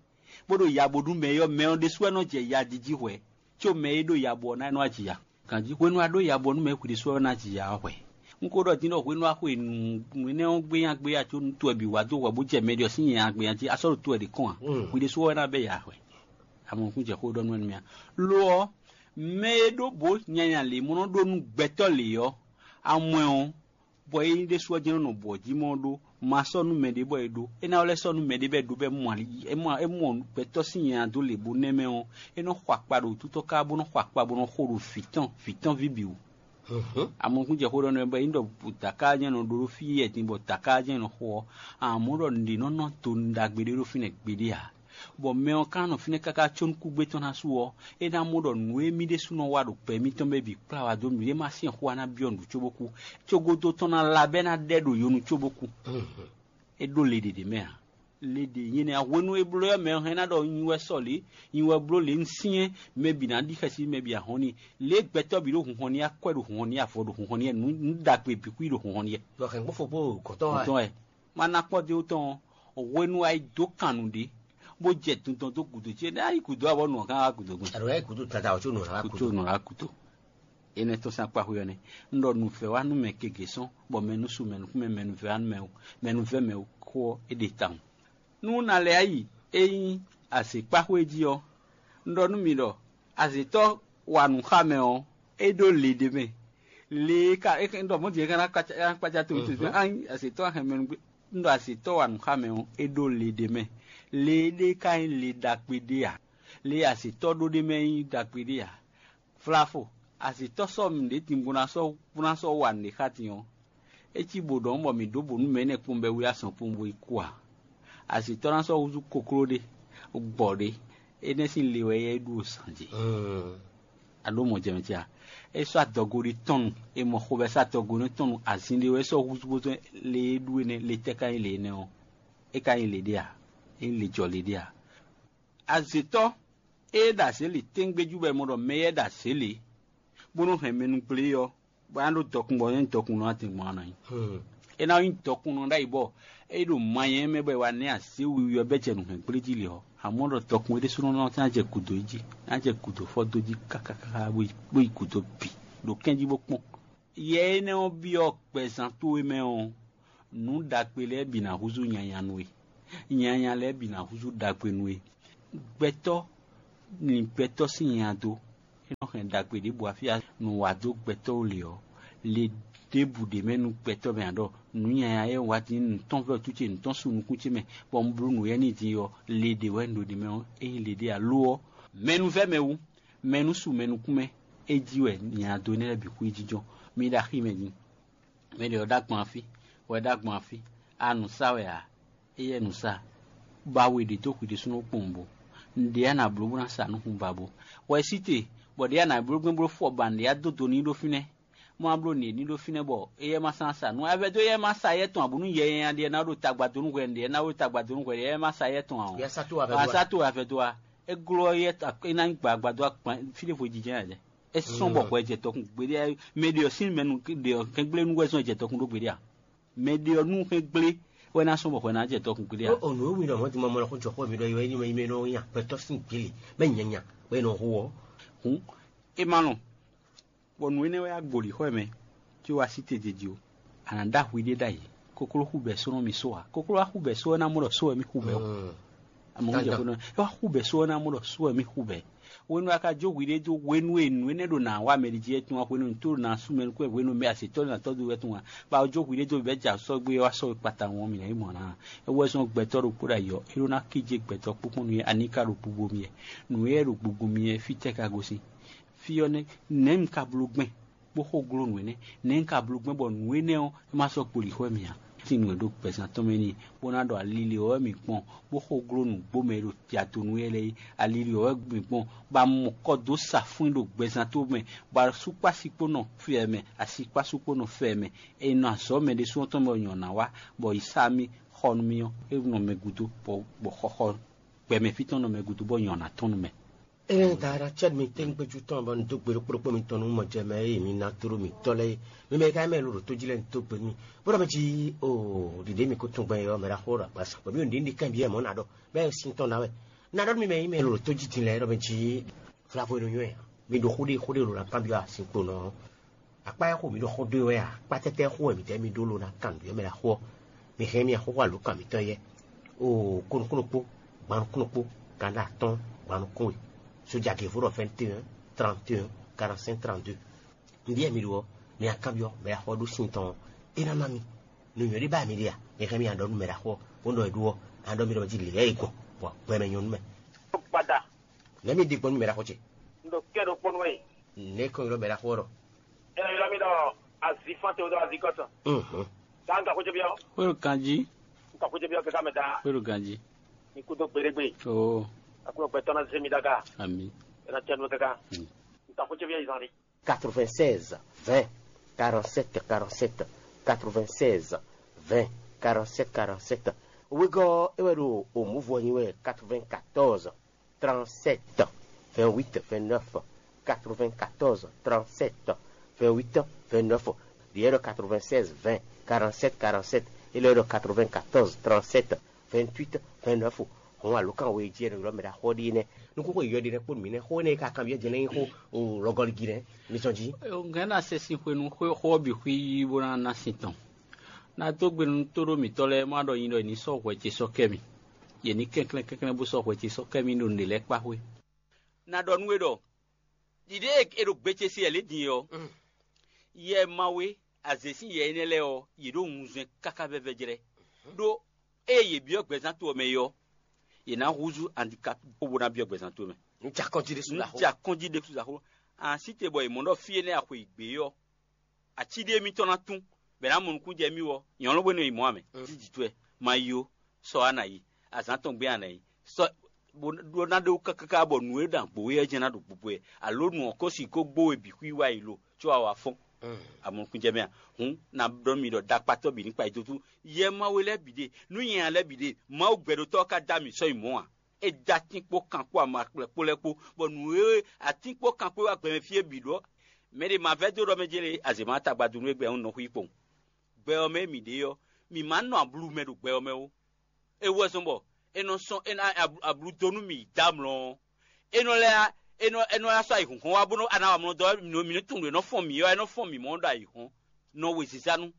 bó ɖo yabo nú mɛ ɔ́, mɛ ɔ́ ɖésú wɛ nɔ jɛ ya jiji hwɛ, có mɛ e ɖo yabo ɔ́ ná nɔ aji ya. Ganjí hwenu a ɖó yabo nú mɛ hwi ɖésú wɛ ná ji ya ɔ́ hwɛ. Un ko ɖɔ din ɖɔ hwenu a xwe nǔ énɛ́ ɔ́ gbénya gbéya có nú towe bǐ wá dó hwɛ bó jɛ mɛ ɖě ɔ́ sín nya gbénya jí a sɔ́ ɖo towe ɖě kɔn a? Hwi ɖésú wɛ ná bɛ ya hwɛ. Amɔkún jɛ xó ɖɔ nú wɛ nú mì a? Lo ɔ́, mɛ e ɖó bǒ nyanya lě mɔ nɔ ɖó nú gbɛtɔ́ lě ɔ́, amwɛ ɔ́, bɔ é nyí ɖésú ɔ́ jɛ́n nɔ nɔ bɔ̌ jí mɔ ɔ́ ɖó, ma sɔ́ nú mɛɖé bɔ é ɖó. É ná lɛ́ sɔ́ nú mɛɖé bɔ é ɖó bɔ é mɔ ali é mɔ é mɔ gbɛtɔ́ sín nya dó lě bó nɛ́ mɛ ɔ́, é nɔ xɔ akpa ɖo wútútɔ́ ká bó nɔ xɔ akpa bó nɔ xo ɖo vǐ tɔn vǐ tɔn ví bǐ wú. Amɔkún jɛ xó ɖɔ nú ɛ bɔ é nyí ɖɔ dǎká jɛ́n nɔ ɖó ɖó fí yɛ din bɔ dǎká jɛ́n nɔ xo ɔ́, amɔ̌ ɖɔ nǔɖé nɔ nɔ do nǔ ɖagbe ɖé ɖó fínɛ́ gbeɖé ǎ. Bɔ mɛ ɔ́ ka nɔ fínɛ́ káká có nú kúgbé tɔn ná su ɔ́, é ná mɔ ɖɔ nǔ e mì ɖésúnɔ wa ɖo gbɛ mitɔn mɛ bǐ kplá wá dó mǐ ɖé ma sín xó wá ná byɔ́ nǔ cóbó kú. Cogodo tɔn ná la bɔ é ná ɖɛ ɖo yonu cóbó kú. É ɖó le ɖě ɖě mɛ ǎ. Le ɖě nyí énɛ́ ǎ. Hwenu e bló ɔ́, mɛ ɔ́ hɛn ná ɖɔ nyi wɛ sɔ lě, nyi wɛ bló lě un syɛ́n, mɛ bǐ ná ɖi xɛsi mɛ bǐ ahɔn n'i. Lě e gbɛtɔ́ bǐ ɖo hunhɔn n'i akwɛ́ ɖo hunhɔn n'i avɔ ɖo hunhɔn n'i nǔ ɖagbe bǐ kú ɖo hunhɔn n'i. Ɖɔ hɛ̌ngbɔ́fɔ kpó gɔ̌tɔ́ wá. Gɔ̌tɔ́ wɛ. Ma ná kpɔ́ dó tɔn ɔ́, hwenu a yi dó kan nǔɖé, bó jɛ dundɔn dó gǔdo ce, nɛ́ a yi gǔdo ǎ bɔ nǔ ɔ́ gán wá gǔdo gbɔn. Àɖǒ yá yi gǔdo tata ɔ́ có nǔ ná wá Kútó gǔdo. Nǔ ná kútó. Énɛ́ tɔn sín akpá xwé ɔ́ nɛ́. Un ɖɔ nǔvɛ́ wá nú mɛ gěgé sɔ́n, bɔ mɛ nú su mɛ nukún mɛ mɛ nǔvɛ́ wá nú mɛ o, mɛ nǔvɛ́ mɛ o kó ɔ́, é ɖe tawun. Nú un ná lɛ́ yi, é nyí azǐkpáxwé jí ɔ́, un ɖɔ nú mi ɖɔ azǐtɔ́ wa nǔ xá mɛ ɔ́, é ɖó le ɖé mɛ. Le e ka é ɖɔ mɔ̌ din é ka ná kpácá ná kpácá towe towe towe ányi azǐtɔ́ hɛn mɛ nú gbé un ɖɔ azǐtɔ́ wa nǔ xá mɛ ɔ́, é ɖó le ɖé mɛ. Le éɖée ka nyí le ɖagbe ɖé ǎ. Le e azǐtɔ́ ɖó ɖ'é mɛ é nyí ɖagbe ɖé ǎ. Vlavo, azǐtɔ́ sɔ́ nǔɖé din bó ná sɔ́ bó ná sɔ́ wa nǔɖé xá din ɔ́, é cí bǒ ɖɔhun bɔ mǐ ɖǒ bǒ nú mɛ énɛ́ kpowun bɔ é wlí azɔn kpowun bó yi kú ǎ. Azǐtɔ́ ná sɔ́ húzú kokló ɖé, gbɔ̌ ɖé, énɛ́ sín le wɛ é ɖu ɖo zǎn jí. A ɖǒ mɔ̌ jɛ mɛ ce a? É sɔ́ adɔgo ɖé tɔn nu, è mɔ xovɛ́ sɔ́ adɔgo ɖé tɔn nu, azin ɖé wɛ é sɔ́ húzú bó zɔ́n le e ɖu énɛ́, le tɛ́ ka nyí le énɛ́ ɔ́? É ka nyí le ɖé a? É nyí le jɔ le ɖé a? Azǐtɔ́ e ɖo azě lě tɛ́ngbéjú bɔ è mɔ ɖɔ mɛ éyɛ́ ɖo azě lě, bó nɔ́ hɛn mɛ nú gblé ɔ́, bɔ é ná ɖó dɔkun bɔ é nyí dɔkunnɔ ɔ́, atɛn gbɔn ɔ́ ná nyí. É ná nyí dɔkunnɔ ɖ'ayǐ bɔ é ɖo manyɛ mɛ bɔ è wǎ nɛ́ azě wiwi ɔ́ bɛ́ jɛ nǔhɛngbléjí lě ɔ́, amɔ̌ ɖɔ dɔkun é ɖésúnɔ ná jɛ gǔdo yi jí, ná jɛ gǔdo fɔ́ dó jí káká káká bó yi gǔdo bǐ ɖo kɛ́n jí bó kpɔ́n. Yɛ énɛ́ ɔ́ byɔ́ gbɛzán towe mɛ ɔ́, Nǔ ɖagbe lɛ́ɛ bǐ ná húzú nyanya nú we; nyanya lɛ́ɛ bǐ ná húzú ɖagbe nú we. Gbɛtɔ́ lin gbɛtɔ́ sín nya dó; é nɔ hɛn ɖagbe ɖěbǔ afí nǔ wa dó gbɛtɔ́ ó lě ɔ́, le ɖěbǔ ɖě mɛ nú gbɛtɔ́ mɛ ǎ ɖɔ nǔ nyanya e wá din nǔ tɔn vɛ́ wútu ce, nǔ tɔn su nukún ce mɛ, bɔ un bló nǔ éyɛ́ n'i din ɔ́, le ɖě wɛ un ɖo ɖě mɛ ɔ́, é nyí le ɖé ǎ. Lo ɔ́, mɛ nú vɛ́ mɛ wú, mɛ nú su mɛ nukún mɛ, é jí wɛ nya dó énɛ́ lɛ́ɛ bǐ xwíjijɔ. Mi ɖo axi mɛ din. Mɛ ɖě ɔ́ ɖó agbɔn afí, wɛ ɖó agbɔn afí, a nǔ sa wɛ ǎ, éyɛ́ nǔ sa, ba we ɖě dó hwi ɖésúnɔ kpowun bo. Nǔɖé a nǎ bló bó ná sa nú hun ba bo. Wɛ sí te, bɔ ɖě a nǎ bló gbɛn bló fɔ ba nǔɖé a dó do n'i ɖó fínɛ́. Má bló nǔɖé n'i ɖó fínɛ́ bɔ éyɛ́ ma sán sa nú a vɛ́ dó éyɛ́ ma sa yɛ tɔn ǎ bónú yɛ nyanya ɖíe ná ɖo tagba dó nú hwɛ, nǔɖé ná ɖo tagba dó nú hwɛ, éyɛ́ ma sa yɛ tɔn ǎ ɔ́. Yɛ sá tó wɛ a vɛ́ dó a? Sá tó wɛ a vɛ́ dó a? É gló ɔ́ yɛ é ná nyí gbǎgbá dó akpan fí ɖěvo jijɛ ǎ jɛ. É sɔ́ bɔ hwɛ jɛ tɔkun gbeɖé ǎ. Mɛ ɖě ɔ́ sín mɛ nu ɖě ɔ́ kɛngblénu wɛ zɔn jɛ tɔkun ɖó gbeɖé ǎ. Mɛ ɖě ɔ́ nú hɛn gblé wɛ ná sɔ́ bɔ hwɛ ná jɛ tɔkun gbeɖé ǎ. Ó nǔ e wí ɖɔ mɔ̌ din mɔmɔ lɔkun jɔ xó mi ɖɔ é wɛ nyí mɛ e nɔ nya gbɛtɔ́ sín gbě lě, mɛ nyanya wɛ è nɔ hu ɔ́. Hǔn é ma lɔn, bɔ nǔ énɛ́ wɛ wá gbǒ lǐxɔ ɛ mɛ, có wá sí te jiji ó. A nǎ ɖó ahwi ɖé ɖ'ayǐ. Kokló xú bɛ̌ só nɔ mì só ǎ. Kokló wá xú bɛ̌ só ɔ́, é ná mɔ ɖɔ só wɛ mì xú bɛ̌ ó. Àmọ́ ń jɛ xó nɔ é wá xú bɛ̌ só ɔ́, é ná mɔ ɖɔ só wɛ mì xú bɛ̌. Hwenu e a ka jó hwiɖée dó hwenu e nǔ énɛ́ ɖo nǎ wa mɛ ɖi jí wɛ tɔn wá, hwenu e nǔ tó ɖo nǎ sú mɛ nukún wɛ, hwenu e mɛ asetɔ́ ɖo nǎ tɔ́ dó wɛ tɔn wá, bɔ a jó hwiɖée dó bɛ̌ ja sɔ́ gbé wá sɔ́ we kpata ɔ́, mǐ ná yi mɔ ná. É wɛ zɔ́n gbɛtɔ́ ɖokpó ɖo ayǐ ɔ́, é ɖó ná kíjé gbɛtɔ́ kpókpó nú yɛ, ani ka ɖo gbogbo mì wɛ. Nǔ e ɖo gbogbo mì wɛ fítɛ́ ka gosín? Fí ɔ́ nɛ́, nɛ̌ un ka bló gbɛn, bó xo gló nǔ énɛ́? Nɛ̌ un ka bló gbɛn bɔ nǔ énɛ́ ɔ́, é ma sɔ́ kpo lǐxɔ mì ǎ? Tin nǔ e ɖo gbɛzán tɔn mɛ n'i, bó ná ɖɔ ali lě ɔ́ wɛ mǐ kpɔ́n, bó xo gló nǔgbó mɛ e ɖo ya do nú é lɛ́ɛ é. Ali lě ɔ́ wɛ mǐ kpɔ́n, bɔ a mɔ kɔ dó sa fún i ɖo gbɛzán tó mɛ, bɔ asúkpási kpó nɔ fɛ mɛ, asi kpó asú kpó nɔ fɛ mɛ. È nɔ azɔ̌ mɛ ɖésú ɔ́ tɔn mɛ bɔ nyɔ̌ ná wá, bɔ yi sá mì xɔ nú mì ɔ́, é nɔ mɛ gúdo, bɔ xɔxɔ gbɛmɛ fí tɔn nɔ mɛ gúdo, bɔ nyɔ̌ ná tɔ́n nú mɛ. Ée da ɖo acɛ mi tɛ́nkpéjú tɔn bɔ un dó gbe ɖo kplɔ́kpɔ́ mitɔn nú mɔjɛmɛ e mi ná tló mǐtɔn lɛ́ɛ é, mi mɛ e ka nyí mɛ e lo ɖo tó jí lɛ́ɛ un dó gbe n'i, bó ɖɔ mɛ jí o ɖiɖě mi ko tunwun gbɛn ɔ́ mɛ ɖaxó ɖo agbaza, bɔ mí ɖo nǔɖé ɖi kanbyɔ́ mɔ̌ ná ɖɔ, mɛ e sin tɔn ná wɛ. Un ná ɖɔ nú mi mɛ e nyí mɛ e lo ɖo tó jí din lɛ́ɛ ɖɔ mɛ jí vlavo e nɔ nywɛ́ ǎ. Mi ɖo xó ɖé xó ɖé lo ná kanbyɔ́ asinkponɔ ɔ́. Akpá e xo mǐ ɖo xó dó e wɛ a? Akpá tɛ́tɛ́ xo wɛ mǐdɛɛ mì ɖó lo ná kan nǔ e mɛ lɛ́ɛ xo ɔ́? Mi hɛn mì axɔ́xú alǒkan mǐtɔn éyɛ́. Oo, kónúkúnú kpó, gban nukúnnú kpó, kanɖa atɔ́ɔ́n, gban nukún we. Sójagěvó ɖɔ vingt et un, trente et un, quarante-cinq, trente-deux. Nǔɖé mi ɖó ɔ́, mi wá kanbyɔ́ mɛ e axɔ ɖó sin tɔn ɔ́, é ná ná mi. Nǔnywɛ́ ɖé ba mi ɖe a? Mi hɛn mì aɖɔ nú mɛ e axɔ ɔ́, bó nɔ e ɖó ɔ́, a ɖɔ mi ɖɔ jí lě lɛ́ɛ e gbɔn, bɔ gbɛ mɛ nyɔ́ nú mɛ. Gbada. Nɛ̌ mi ɖe gbɔn nú mɛ e axɔ ce? Un ɖo kɛ ɖokpó nú we. Nɛ̌ kɔn ylɔ́ mɛ e axɔ ɔ́ ɖɔ? Ɛ ylɔ́ mi ɖɔ azifán te ɖo azikɔtɔn. Mhm. Tá un ka xwé ce byɔ́? Xwé ɖo ganjí. Un ka xwé ce byɔ́ kɛká mɛ ta. Xwé ɖo ganjí. Mi kú dó gbeɖégbé. Oo. Aklúnɔ gbɛtɔ́ ná zé mi ɖága. Ami. Ɛ ná tɛnu kɛká. Mm. Un ka xwé ce byɔ́ izan ɖi. Quatre-vingt-seize, vingt, quarante-sept, quarante-sept, quatre-vingt-seize, vingt, quarante-sept, quarante-sept. Wegɔ́ é wɛ ɖo òmǔvɔ nyi wɛ quatre-vingt-quatorze, trente-sept, vingt-huit, vingt-neuf, quatre-vingt-quatorze, trente-sept, vingt-huit, vingt-neuf. Ɖiɛ ɖɔ quatre-vingt-seize, vingt, quarante-sept, quarante-sept, é lɛ́ ɖɔ quatre-vingt-quatorze, trente-sept, vingt-huit, vingt-neuf. Hɔn alǒkan we jí ɛnɛ ylɔ́ mɛ ɖo axɔ ɖi nɛ́. Nukúnxó yeyɔ́ ɖi nɛ́ kpó nǔ mì nɛ́ xó énɛ́ e ka kanbyɔ́ jɛ lɛ́ nyí xó lɔgɔligi nɛ́. Mi zɔn jí. Gɛ̌n ná se sin xwenu xó ɔ́ bǐ xwí yí bó ná ná sin tɔn. Ná dó gbe nú tóɖó mǐtɔn lɛ́ɛ má ɖɔ nyi ɖɔ è ní sɔ́ hwɛ ce sɔ́ kɛ mì. Yě ní kɛnklɛ́n kɛnklɛ́n bó sɔ́ hwɛ ce sɔ́ kɛ mì ɖo nǔɖé lɛ́ɛ kpá xwé. Ná ɖɔ nú we ɖɔ ɖiɖée e ɖo gbe ce se wɛ lě din ɔ́, yɛ Mawu e azě sín yɛ énɛ́ lɛ́ɛ ɔ́, yě ɖo wunzɛn káká vɛvɛ jlɛ́. Ɖó ée yě byɔ́ gbɛzán to ɔ́ mɛ é ɔ́, yě ná húzú andikapi bó ná byɔ́ gbɛzán to ɔ́ mɛ. Un jɛ akɔ́njí ɖésú Un jɛ akɔ́njí ɖésú ɖaxó. An sí te bɔ è mɔ ɖɔ fí énɛ́ a xwe yi gbě ɔ́, ací ɖé mitɔn ná tún, bɔ è nǎ mɔ nukún jɛ mì wɔ, nyɔ̌nu bó nɔ yi mɔ̌ ǎ mɛ. Jí jǐ towe, ma yi ó, sɔ wá nǎ yi, azǎn tɔn gbé a nǎ yi. Sɔ bó ɖó ná ɖó káká bɔ nǔ e ɖo agbo wɛ ɔ́ jɛ́n ná ɖo gbogbo wɛ, alo nǔ ɔ́ ko sixú gbó we bǐ xwí wá yi lo, có a wǎ fɔ́n. A mɔ nukún jɛ mɛ a? Hǔn, ná ɖɔ mi ɖɔ ɖakpatɔ́ bǐ ní kpa yi dó tú. Yɛ Mawu lɛ́ɛ bǐ ɖe, nǔ nyanya lɛ́ɛ bǐ ɖe, Mawu gbɛɖotɔ́ ɔ́ ka dó ami sɔ́ yi mɔ̌ ǎ. É dó atín kpó kan kpó ama kplɛ́ kpó lɛ́ɛ kpó, bɔ nǔ e atín kpó kan kpó wá gbɛ mɛ fí é bǐ ɖó. Mɛ ɖě ma vɛ́ dó ɖɔ mɛ jɛ́n lě, azě ma tagba dó nú égbé ɔ́, un nɔ xwí kpowun. Gbɛ ɔ́ mɛ e mǐ ɖe ɔ́, mǐ ma nɔ ablú mɛ ɖo gbɛ ɔ́ mɛ ó. É wú wɛ zɔ́n bɔ é nɔ sɔ́ é ná ablu dó nú mì dó amlɔ ɔ́. É nɔ lɛ́ é nɔ é nɔ lɛ́ sɔ́ ayǐhɔ́ngɔ́n wá bónú a ná wa mlɔ dɔ ɔ́, mǐ nɔ tunwun ɖɔ é nɔ fɔ́n mǐ ɔ́, é nɔ fɔ́n mǐ mɔ̌ ɖo ayǐhɔ́n. Nɔ wezízá nú.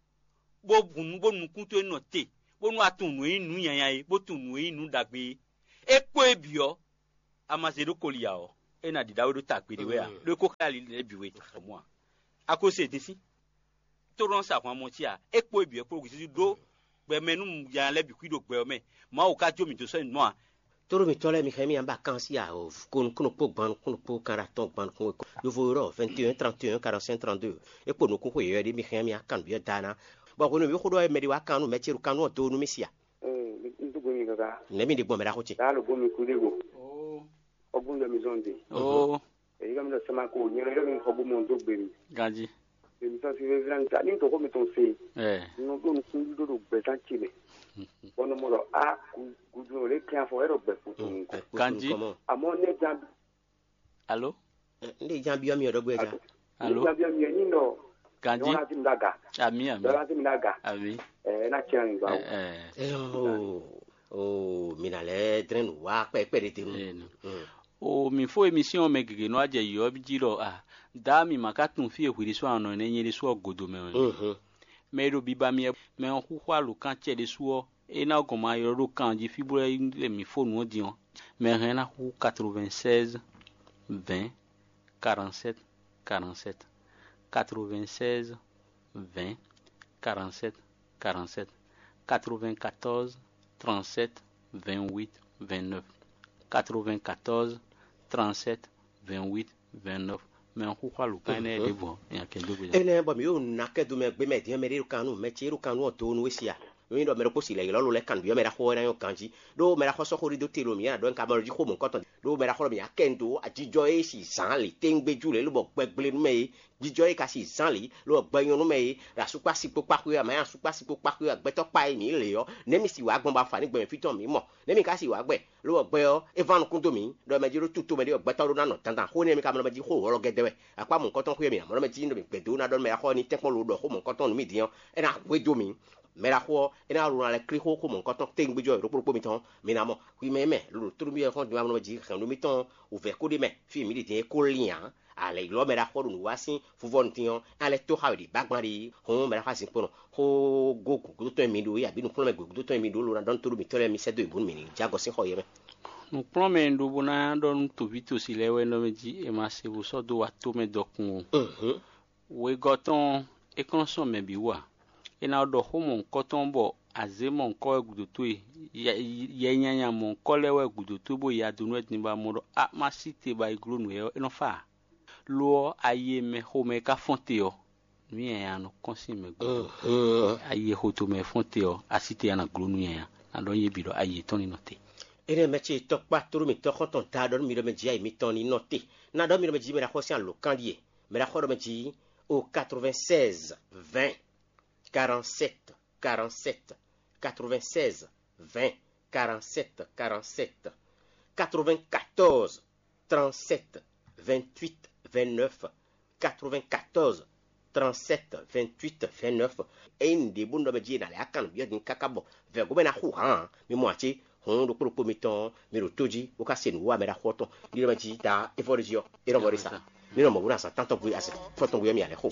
bó hun nú bó nukún towe nɔ te, bónú a tunwun nǔ e nyí nǔ nyanya é, bó tunwun nǔ e nyí nǔ ɖagbe é. É kpó é bǐ ɔ́, a ma zé ɖó koli ǎ ɔ́, é ná ɖiɖa we ɖó tagbe ɖé wɛ ǎ, ɖó é kó xlɛ́ ali lɛ́ɛ bǐ we mɔ ǎ. A ko se din sín, tó nɔ sa ahwan mɔ cí ǎ, é kpó é bǐ wɛ kpó Jezu ɖó gbɛ mɛ nú ya lɛ́ɛ bǐ xwí ɖo gbɛ ɔ́ mɛ. Mawu ka jó mì dó sɔ́ nyi nɔ ǎ. Tóɖó mitɔ́ lɛ́ɛ, mi xlɛ́ mì ǎ bɔ kan sí a, ko nukúnnú kpó gban nukúnnú kpó kan ɖo atɔ́ɔ́n gban nukúnnú kpó. Yovo ylɔ́ vingt et un trente et un quarante-cinq trente-deux. É kpo nukún xwe yɔ̌yɔ́ ɖé, mi xlɛ́ mì á kan nǔbyɔ́ da ná. Bɔ hwenu e mǐ xo ɖɔ wɛ mɛ ɖé wá kan nú mɛ ce ɖo kan nú ɔ́ do nú mì si a? Ee, n dúgbe mi kaka. Nɛ̌ mi ɖe gbɔn mɛ ɖaxó ce? Daa ɖo bó mi kú ɖé go. Ɔgbɔn ɖɔ mi zɔn de. Oo. Èyí ká mi ɖɔ sɛma ko nyɛ ɖɔ mi xɔ bó mɔ dó gbe mi. Ganji. Èmi sɔn si vevila nta ní tɔxɔ mi tɔn se. Ɛ. Nɔ ɖo nukún ɖo ɖo gbɛzán ce mɛ. Bɔn nɔ mɔ ɖɔ a gudu lɛ kɛn afɔ ɛrɔ gbɛ kutu nukɔ. Ganji. Amɔ ne jan. Alo. N ɖe jan biɔ mi ɔdɔ gbɛ ja. Alo. Jan biɔ mi ni nɔ. Ganji. Nyɔna ti mi daga. Ami ami. Nyɔna ti mi daga. Ami. Ɛ na tiɲɛ mi gba. Ɛ. Ɛ o, o mina lɛ drɛn nu wa kpɛkpɛ de te nu. O mi fo émission mɛ gěgé nɔ ajɛ yɔ jí ɖɔ a da mi ma ka tunwun fí e hwi ɖésú anɔ nɛ nyɛ ɖésú ɔ́ godo mɛ wɛ. Mɛ e ɖo biba mi mɛ ɔ́ xúxú alǒkan cɛ ɖésú ɔ́, é ná gɔn ma ylɔ́ ɖó kan jí fí bó lɛ́ lɛ mǐ fó nǔ ɔ́ din ɔ́. Mɛ hɛn ná xú quatre-vingt-seize vingt quarante-sept quarante-sept, quatre-vingt-seize vingt quarante-sept quarante-sept, quatre-vingt-quatorze trente-sept vingt-huit vingt-neuf, quatre-vingt-quatorze trente-sept vingt-huit vingt-neuf. Mɛ ɔ́ xúxú alǒkan énɛ́ ɖěvo ɔ́, nya kɛ dó gbe. Énɛ́ bɔ mǐ ɖo nǔ ná kɛ do mɛ gbé mɛ din ɔ́, mɛ ɖé ɖo kan nú mɛ ce e ɖo kan nú ɔ́ do nú we sia. Nú nyí ɖɔ mɛ ɖokpó si lɛ ylɔ́ lo lɛ́ kan nǔbyɔ́ mɛ ɖaxó ɔ́ ná nyɔ́ ganjí, ɖó mɛ ɖaxó ɔ́ sɔ́ xó ɖé dó te lo mǐ ná ɖɔ nú ka mɔ jí xó mɔ̌hunkɔtɔn ɖó mɛ ɖaxó ɔ́ mǐ ná kɛ nu dó ajijɔ e si zǎn lě téŋgbé jú lě lobɔ gbɛgble nú mɛ é, jijɔ e ka si zǎn lǐ lobɔ gbɛ nyɔ́ nú mɛ é, ɖo asukpá si kpó kpá xwé wɛ, mɛ asukpá si kpó kpá xwé wɛ, gbɛtɔ́ kpa e mǐ lě ɔ́, nɛ̌ mi si wǎ gbɔn bɔ afǎ ní gbɛ mɛ fí tɔn mǐ mɔ? Nɛ̌ mi ka si wǎ gbɛ? Lobɔ gbɛ ɔ́, é ván nukún dó mǐ, ɖɔ mɛ jí ɖó túto mɛ ɖé wɛ gbɛtɔ́ ɖó ná nɔ dandan xó nɛ́ mi ka mɔ ɖɔ mɛ jí xó wɔlɔgɛdɛ wɛ. Akpá mɔ̌hunkɔtɔn xwé mǐ ná mɔ ɖɔ mɛ jí ɖo mǐ gbɛdó ná ɖɔ nú mɛ ɖaxó ɔ́ ní tɛ́nkpɔ́n lo ɖɔ xó mɔ̌hunkɔtɔn nú mì din ɔ́, é ná hwedó mì. Mɛ ɖaxó ɔ́, é ná ɖo ná lɛ́ klí xó xó mɔ̌hunkɔtɔn téŋgbéjɔ ɖokpó ɖokpó mitɔn. Mi ná mɔ hwi mɛ mɛ lolo tlú mì wɛ xɔ́n din wá mɔ jí hɛn nú mítɔn wǔvɛ́ kó ɖ'é mɛ fí e mǐ ɖi din é kó lín ǎ. Alɛ ylɔ́ mɛ ɖaxó ɖo nǔ wa sín fúvɔ́nu din ɔ́, é ná lɛ́ tó xá we ɖi bágbán ɖi hǔn mɛ ɖaxó azinkpo nɔ xó gó gǔgúdótɔn e mi ɖó é abǐ nǔkplɔ́nmɛ gǔgúdótɔn e mi ɖó ló ná ɖɔ nú tóɖó mǐtɔn lɛ́ɛ mi sɛ́ dó yě bónú mǐ ní jɛ agɔ sín xɔ yɛ mɛ. Nǔkplɔ́nmɛ e un ɖó bó ná ɖɔ nú tǒví tosí lɛ́ɛ wɛ nɔ mɛ jí è ma se bó sɔ́ dó wa tó mɛ dɔkun o. Wegɔ́ tɔn ɔ́, é kɔn nɔ sɔ́ mɛ bǐ wú ǎ. É ná ɖɔ xó mɔ̌hunkɔtɔn bɔ azě mɔ̌hunkɔ wɛ gǔdo towe, yɛ nyanya mɔ̌hunkɔ lɛ́ɛ wɛ gǔdo towe bó ya dó nú wɛ din bɔ a mɔ ɖɔ a ma sí te bɔ a yi gló nǔ éyɛ́ ɔ́, é nɔ fá ǎ. Lo ɔ́, ayi e mɛ xomɛ ka fɔ́n te ɔ́, nǔ nyanya nɔ kɔn sín mɛ gúdo. Ayi e xo tomɛ fɔ́n te ɔ́, a sí te a nǎ gló nǔ nyanya. Ná ɖɔ nyí bǐ ɖɔ ayi yětɔn ní nɔ te. Énɛ́ mɛ ce tɔkpá tlú mǐtɔn xɔ́ntɔn da ɖɔ nú mi ɖɔ mɛ jí ayi mitɔn ní nɔ te. Ná ɖɔ mi ɖɔ mɛ jí mɛ ɖaxó sín alǒkan ɖíe. Mɛ ɖaxó ɖɔ mɛ jí o quatre-vingt-seize vingt quarante-sept quarante-sept, quatre-vingt-seize vingt quarante-sept quarante-sept, quatre-vingt-quatorze trente-sept vingt-huit vingt-neuf, quatre-vingt-quatorze trente-sept vingt-huit vingt-neuf. Ényí nǔɖé bónú ɖɔ mɛ jí è nǎ lɛ́ akan nǔbyɔ́ din káká bɔ vɛ̌gomɛ ná xú hǎn ǎ, mi mɔ ǎ cé? Hǔn ɖokpó ɖokpó mitɔn ɔ́, mi ɖo tó jí bó ka se nǔ wa mɛ ɖaxó ɔ́ tɔn. Ní ɖɔ mɛ jí ta é vɔ ɖ'é jí ɔ́, é nɔ vɔ ɖ'é sa. Ní nɔ mɔ bó ná sa tántɔn gbe azɛ fɔ́ntɔn gbe ɔ́, mi alɛ xo.